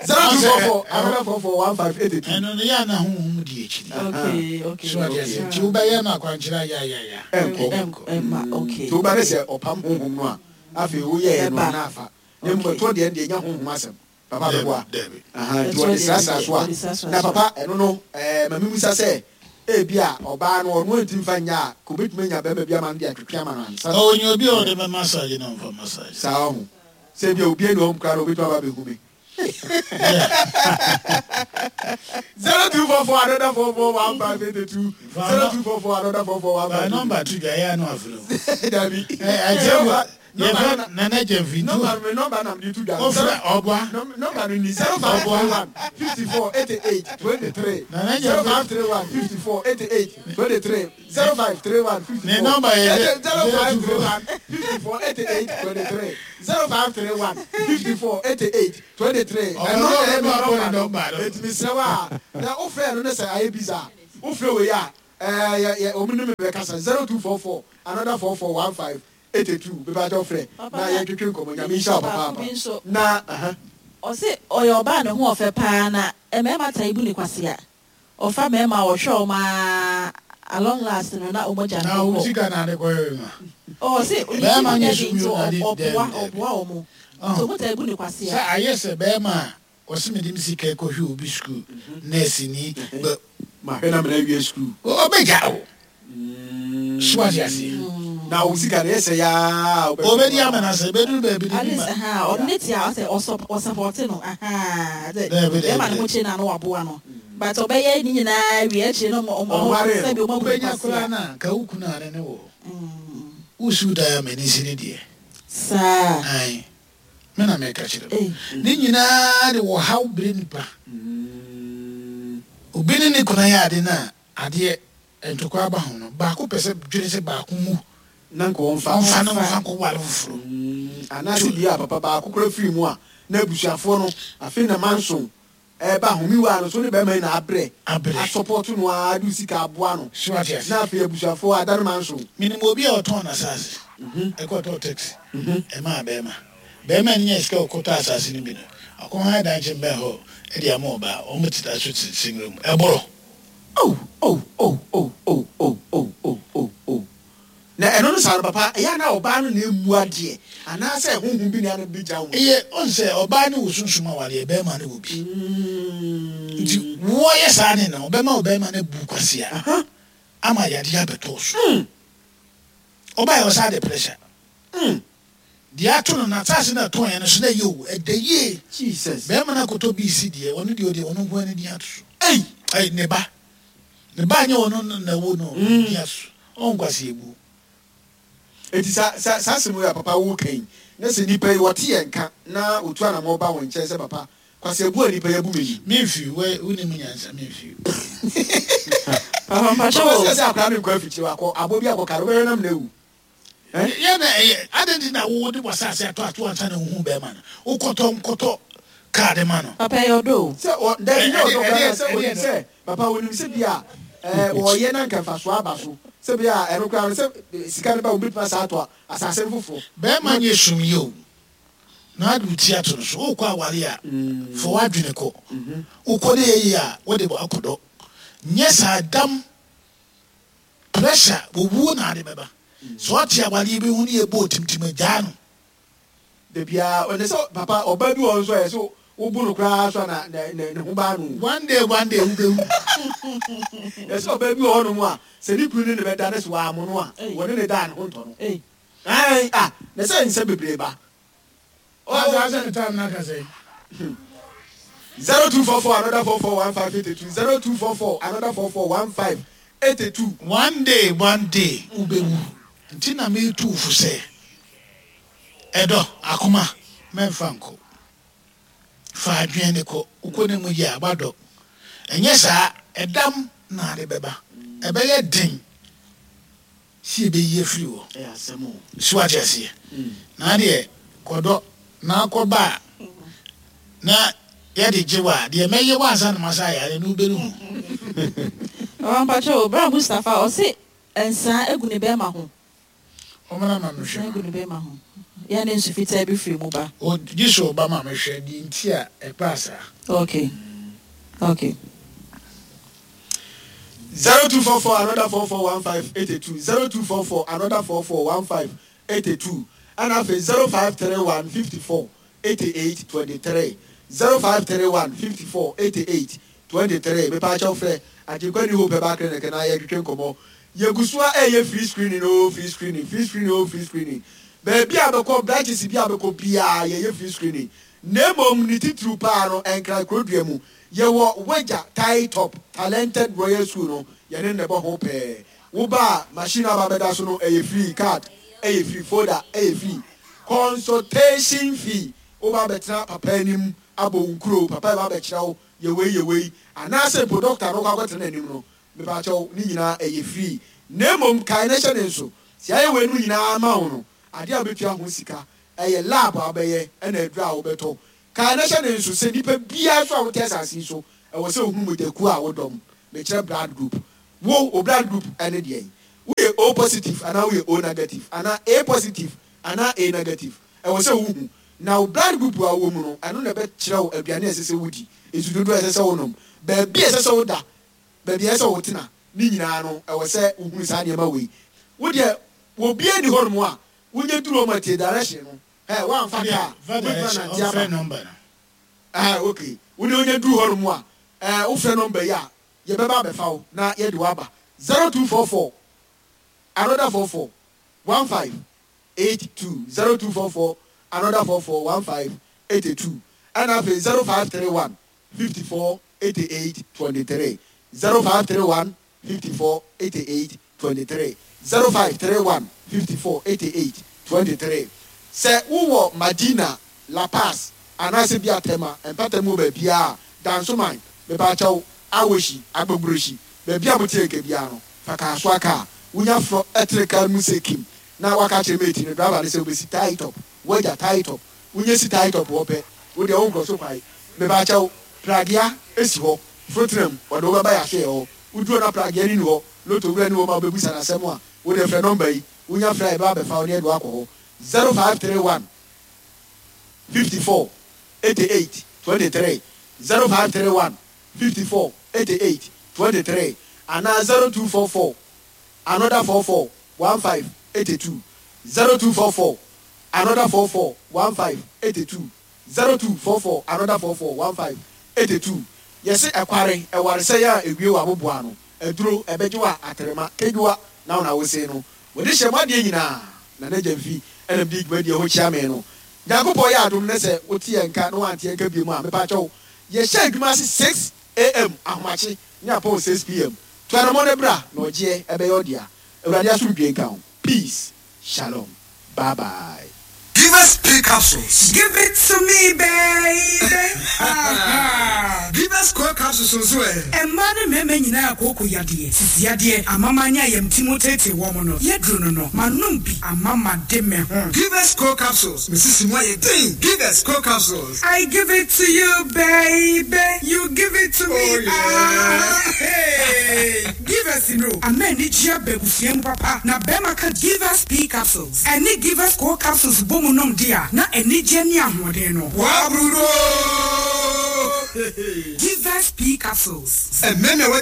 Speaker 2: Zero two four four another four four one five eight two.
Speaker 1: Ɛno no yɛ ana honhom di akyiri.
Speaker 4: Okay, okay.
Speaker 1: So ade ase nti wobɛyɛ no akwankyerɛ ayayaya.
Speaker 2: Ɛnkɔ.
Speaker 4: Ɛnkɔ. Ɛmma, okay.
Speaker 2: Nti woba ne sɛ ɔpam honhom no a, afei woyɛɛ no
Speaker 4: Ɛbɛba.
Speaker 2: na afa. Na mmom ɛtoɔ deɛ deɛ nya honhom asɛm. Papa bɛboa.
Speaker 1: Dabi.
Speaker 2: Aha, nti
Speaker 4: Ɛtoɔ
Speaker 2: wɔde
Speaker 4: deɛ
Speaker 2: srasra so a.
Speaker 4: wɔde srasra
Speaker 2: Na
Speaker 4: so.
Speaker 2: papa, ɛno no, ɛɛ ma mimusa sɛ ebi a ɔbaa no ɔno antumi fa nya a, ka obetumi anya bɛrima bi ama no de atwetwe ama no ansa.
Speaker 1: Ɔnyɛ obi a ɔde bɛ massage na ɔmfa massage.
Speaker 2: Saa ɔho. Sɛ ebi a obi ani hɔ koraa na obetumi aba abɛhu me. Zero two four four another four four one five eight two, zero two four four another four four one
Speaker 1: Ba
Speaker 2: five.
Speaker 1: nɔmba to dwa yɛ ano afiri o.
Speaker 2: Dabi.
Speaker 1: Ɛ ɛtiɛfo Yɛfrɛ Nana Gyamfi nti
Speaker 2: Nɔmba no, nɔmba nam de to dwa.
Speaker 1: Wofrɛ ɔboa.
Speaker 2: Nɔmba no ni zero five three one fifty four eighty eight twenty three.
Speaker 1: Nana
Speaker 2: Zero
Speaker 1: Gyamfi.
Speaker 2: five three one fifty four eighty eight twenty three zero five three one fifty
Speaker 1: Ne
Speaker 2: four.
Speaker 1: nɔmba yɛ
Speaker 2: zero five three one fifty four eighty eight twenty three zero five three one fifty four eighty eight twenty three.
Speaker 1: Ɔbɛn
Speaker 2: Ɛno na ɛyɛ mi
Speaker 1: ɔbɛn
Speaker 2: nɔmba no.
Speaker 1: nɔmba no.
Speaker 2: Eti mi srɛ wa na wofrɛ no ne sɛ ayɛ bisa wofrɛ wei a ɛɛ yɛ yɛ ɔmo ne mi bɛ kasa zero two four four another four four one five eighty two bɛbɛ atɔ frɛ
Speaker 4: Papa,
Speaker 2: na
Speaker 4: na-
Speaker 2: yɛntwetwe nkɔmɔ nyame nhyɛ wo
Speaker 4: baako bi nso.
Speaker 2: papaapa na aha
Speaker 4: ɔse ɔyɛ ɔbaa ne ho ɔfɛ paa na mmarima taa ibu ne kwasea ɔfa mmarima a ɔhwɛ ɔmo aa along last no na ɔmo agya
Speaker 1: Na
Speaker 4: no
Speaker 1: wo
Speaker 4: kɔ
Speaker 1: sika na ade kɔyɛ ma.
Speaker 4: ɔse ne
Speaker 1: Bɛrima
Speaker 4: ti
Speaker 1: nyɛ
Speaker 4: nyɛ
Speaker 1: sum
Speaker 4: den nti
Speaker 1: yi o, na ade-
Speaker 4: ɔboa
Speaker 1: dɛbi, dɛbi.
Speaker 4: ɔboa ɔmo nti ɔmo taa ibu ne
Speaker 1: Sɛ
Speaker 4: kwasea
Speaker 1: ayɛ sɛ bɛrima a ɔsi mi de mi sika kɔhwɛ obi sukuu nɛɛsi ni bɛ
Speaker 2: ma hwɛ na mena wie sukuu
Speaker 1: ɔbɛgya o. So ate aseɛ.
Speaker 2: na wo sika no yɛ sɛ yaa
Speaker 1: Ɔbɛdi ama na sɛ ebɛduru baabi de
Speaker 4: at
Speaker 1: bi
Speaker 4: least
Speaker 1: ma.
Speaker 4: ha ɔno ne tia ɔsɛ ɔsɔ ɔsupport no aha sɛ
Speaker 1: Dɛbi, dɛbi,
Speaker 4: bɛrima ne ho
Speaker 1: dɛbi.
Speaker 4: kye na no waboa no but ɔbɛyɛ ne nyinaa wie akyire no ɔmo ɔmo
Speaker 2: Ɔnware no.
Speaker 4: sɛbi ɔmo abu ne
Speaker 1: Wobɛnya koraa
Speaker 4: kwasea
Speaker 1: na ka wo kunu ane ne wɔ. Wosiw dan ama ne si ne deɛ.
Speaker 4: saa
Speaker 1: Ae. Me na meka kyerɛ wo.
Speaker 4: ee
Speaker 1: Ne nyinaa de wɔ haw bere nipa. Obi ne ne kunu ayɛ ade no a adeɛ ntokwa aba ho no baako pɛ sɛ dwene sɛ baako mu
Speaker 2: na nka ɔmfa
Speaker 1: ɔmfa ne ɔmfa nkɔware foforɔ.
Speaker 2: anaasɛ bi a papa baako kora firi mu a na abusuafoɔ no afei na manso ɛba homiwa no so ne bɛrima yi na abrɛ
Speaker 1: Abrɛ.
Speaker 2: asupport no a de wo sika aboa no
Speaker 1: So ate ase.
Speaker 2: na afei abusuafoɔ ada no manso
Speaker 1: Menim obi a ɔtɔn n'asase ɛkɔtɔɔ taxi ɛmaa bɛrima bɛrima no nya sika ɔkɔtɔ asase no bi no ɔkɔhan dan kyɛn bɛn hɔ ɛde ama ɔbaa ɔmo teta so te single mu ɛborɔ
Speaker 2: oh oh oh oh oh oh oh oh oh oh na ɛno no saa no papa ɛyɛ na ɔbaa no na emu adeɛ anaasɛ honhom bi na ano bi gya wo
Speaker 1: ɛyɛ ɔn sɛ ɔbaa no wɔ sunsum awareɛ bɛrima no wɔ bi nti wɔyɛ saa ne no ɔbɛma ɔbɛrima no bu kwasea ama yadeɛ abɛtɔ so ɔbaa yɛ ɔsa de pressure deɛ ato no n'asase no ɛtɔn yɛ no so na ɛyɛ o ɛda yie
Speaker 2: jesus
Speaker 1: bɛrima no akɔtɔ bii si deɛ ɔno deɛ ɔde ɔno nko ara ne din ato so
Speaker 2: ei
Speaker 1: ɛy ne ba ne ba nyɛ ɔno na ɛwɔ no din ato so ɔnkwasi ebu
Speaker 2: eti sa sa saa asɛm yi a papa wo kan na sɛ nipa yi wɔte yɛn nka na otu anamɔ ba wɔn nkyɛn sɛ papa kwasi ebu a nipa yi abu mi ni
Speaker 1: memfi wɛ wonim nyansa memfi
Speaker 4: papa mpakyɛ
Speaker 2: papa
Speaker 4: o
Speaker 2: sɛ sɛ akora mi nkɔ afikyire wakɔ abo bi akɔ kare wɔyɛ nam na ewu
Speaker 1: yɛ na ɛyɛ adɛn nti na wo de w'asase ato ato ansa na wohu bɛrima no wokɔtɔ nkɔtɔ kaa ma no
Speaker 4: papa ɛyɛ ɔdɔ o
Speaker 2: sɛ ɔ dabi nyɛ ɔdɔ
Speaker 1: Ɛdeɛ-
Speaker 2: koraa
Speaker 1: ɛdeɛ-
Speaker 2: sɛ onim
Speaker 1: ɛdeɛ-
Speaker 2: sɛ papa onim sɛ bi a ɛɛ wɔyɛ na nkɛmfaso aba so sɛ bi a ɛno koraa no sɛ eh, sika no ba wɔn bituma saa ato asase no foforɔ
Speaker 1: bɛrima nyɛ sum yi o na ade wo ti ato no so wokɔ aware a fa w'adwene kɔ wokɔ de yɛyi a wode bɔ akɔdɔ nyɛ saa dam pressure wɔwuo na ade bɛba sɛ ɔte awareɛ bi ho ne yɛbɔ otimtim agyaa no
Speaker 2: dabi a ɔne sɛ papa ɔba bi wɔ hɔ nso a yɛ so wobu no koraa so a na ne ne ne ho baa no
Speaker 1: one day one day wobɛwu
Speaker 2: yɛ sɛ ɔba bi wɔ hɔnom a sɛ ne kunu ne ne bɛda ne sɛ wɔamo no a
Speaker 4: Ei.
Speaker 2: wɔne ne da ne ho ntɔ no
Speaker 4: ee
Speaker 2: ɛn a na sɛ nsɛm bebree ba
Speaker 1: Asa sɛ ne time no aka sɛ
Speaker 2: zero two four four another four four one five eight two zero two four four another four four one five eight two.
Speaker 1: one day one day wobɛwu nti na metu wo fo sɛ ɛdɔ akoma mɛmfa nkɔ fa adwene ne kɔ wokɔ ne mu yie a wadɔ ɛnyɛ saa ɛdam na ade bɛba ɛbɛyɛ den si ɛbɛyi afiri hɔ
Speaker 2: ɛyɛ asɛm o.
Speaker 1: so wate aseɛ na adeɛ kɔdɔ na akɔba a na yɛde gye wo a deɛ mɛyɛ wo ansa na masa ayare no wobɛnu ho
Speaker 4: papa mpakyɛ o bra mustapha ɔse nsaa egu ne bɛrima ho
Speaker 1: ɔmana ma
Speaker 4: nsaa
Speaker 1: mehwɛ
Speaker 4: egu ne bɛrima ho yɛn ne nsu fitaa bi firi mu ba
Speaker 1: O- gye sɛ ɔba ma mehwɛ deɛ nti a ɛbaa saa
Speaker 4: okay okay
Speaker 2: zero two four four another four four one five eight two zero two four four another four four one five eight two ɛna afei zero five three one fifty four eighty eight twenty three zero five three one fifty four eighty eight twenty three mepaakyɛw frɛ agyenkwa new hope herbal clinic na yɛtwetwe nkɔmmɔ yɛgu so a ɛyɛ free screening o free screening free screening o free screening baabi a bɛkɔ branches bi a bɛkɔ biara yɛyɛ free screening na mmom ne titiriw paa no ɛnkra kurodua mu yɛwɔ wagya tie top talented royal school no yɛne ne bɔ ho pɛɛ woba a machine aba bɛda so no ɛyɛ free card ɛyɛ free folder ɛyɛ free Consultation fee, woba abɛtena papa anim abɔ wo nkuro, papa ba abɛkyerɛ wo yɛwei yɛwei, anaasɛ mpo doctor no wokɔ akɔtena n'anim no, mepakyɛw, ne nyinaa ɛyɛ free. Na mmom kae na hyɛ ne nso sɛ ayɛ wei no nyinaa ma wo no, adeɛ a wobɛtua ho sika ɛyɛ lab a wobɛyɛ ɛna aduru a wobɛtɔ. Kae na hyɛ ne nso sɛ nipa biara so a wote asase yi so, ɛwɔ sɛ ohunu mogyakuo a wodɔm. Mekyerɛ blood group. Wo o blood group ɛne deɛ yi, woyɛ O positive anaa woyɛ O negative anaa A positive anaa A negative, ɛwɔ sɛ wohu. Na wo blood group a wowɔ mu no, ɛno na ɛbɛkyerɛ wo aduane a ɛsɛ sɛ wodi, nsu dodoɔ a ɛsɛ sɛ wonom, baabi a ɛsɛ sɛ woda, baabi a ɛsɛ sɛ wotena, ne nyinaa no ɛwɔ sɛ wohunu saa nneɛma wei. Wo deɛ, obiara ni hɔnom a wonyɛ duru ɔmo atie direction no ɛ woamfa kaa
Speaker 1: fa
Speaker 2: wobɛtumi
Speaker 1: direction
Speaker 2: anante
Speaker 1: ɔmfrɛ
Speaker 2: aba.
Speaker 1: Number no.
Speaker 2: Ɛɛ, okay, wo deɛ, wonyɛ duru hɔnom a ɛɛ wofrɛ number yi a, yɛbɛba abɛfa wo na yɛde wo aba: zero two four four another four four one five eight two, zero two four four another four four one five eighty two, ɛna afei zero five three one fifty four eighty eight twenty three, zero five three one fifty four eighty eight twenty three, zero five three one fifty four eighty eight twenty three. Sɛ wowɔ Madina, La Paz, anaasɛ bi atɛma mpatamu wɔ baabiara, Dansoman, mepaakyɛw, Awoshie, Agbogbloshie, baabi a mote nka biara no, fa kaa so aka a wonya forɔ ɛtere kaa mu sɛ kim na waka kyerɛ mate no, driver no, sɛ wobɛsi Tai Top wagya Tai Top. Wonya si Tai Top hɔ pɛ, wodeɛ wonkɔ so kwae. Mepaakyɛw, pragea esi hɔ, foro tena mu, ɔde wobɛba yɛahwɛ hɔ. Woduro na pragea ni ni hɔ, loto wura ni hɔ ma wobɛbusa n'asɛm a, wode frɛ number yi. Wonya frɛ a, yɛbɛba abɛfa wo ne yɛde wakɔ hɔ: zero five three one fifty-four eighty-eight twenty-three, zero five three one fifty-four eighty-eight twenty-three, anaa zero two four four another four four fifteen eighty-two, zero two four four another four four fifteen eighty-two, zero two four four another four four fifteen eighty-two. Yɛsɛ ɛkware ɛwaresɛ yɛ a ewie wɔ aboboa no aduro ɛbɛgye wɔ atrema kedua na wɔn a wose no wɔde hyɛ mu adeɛ nyinaa na n'agya mfi ɛnam di dwumadie ho kyia me no. Nyankopɔn yɛ adom ne sɛ wote yɛn nka na wante yɛn nka bio mu a, mepakyɛw, yɛhyɛ adwuma ase six a m ahomakye ne apɔn six p m. To anamɔ no bra na ɔgyeɛ ɛbɛyɛ ɔdea. Awurade asomdwe nka ho. Peace, shalom, bye bye.
Speaker 5: Give us P capsules.
Speaker 6: Give it to me, baby. Uh-huh.
Speaker 5: Give us core capsules nso ɛ.
Speaker 6: Mmaa ne mmarima nyinaa kooko yadeɛ, sisi yadeɛ, amama ne ayamti mu tete wɔ mo no, yɛduru no no, manom bi amama de me ho.
Speaker 5: Give us core capsules. Mesisi mu ayɛ den. Give us core capsules.
Speaker 6: I give it to you, baby. You give it to me.
Speaker 5: Oh, yeah.
Speaker 6: Ah, hey. Give us no. Ama anigye aba abusua mu papa na bɛrima ka Give Us P capsules ɛne Give Us core capsules bɔ mu nom di a, na anigye ne ahoɔden no.
Speaker 5: Wabrudo.
Speaker 6: Give Us P capsules.
Speaker 5: Ɛmɛmɛ wɔ.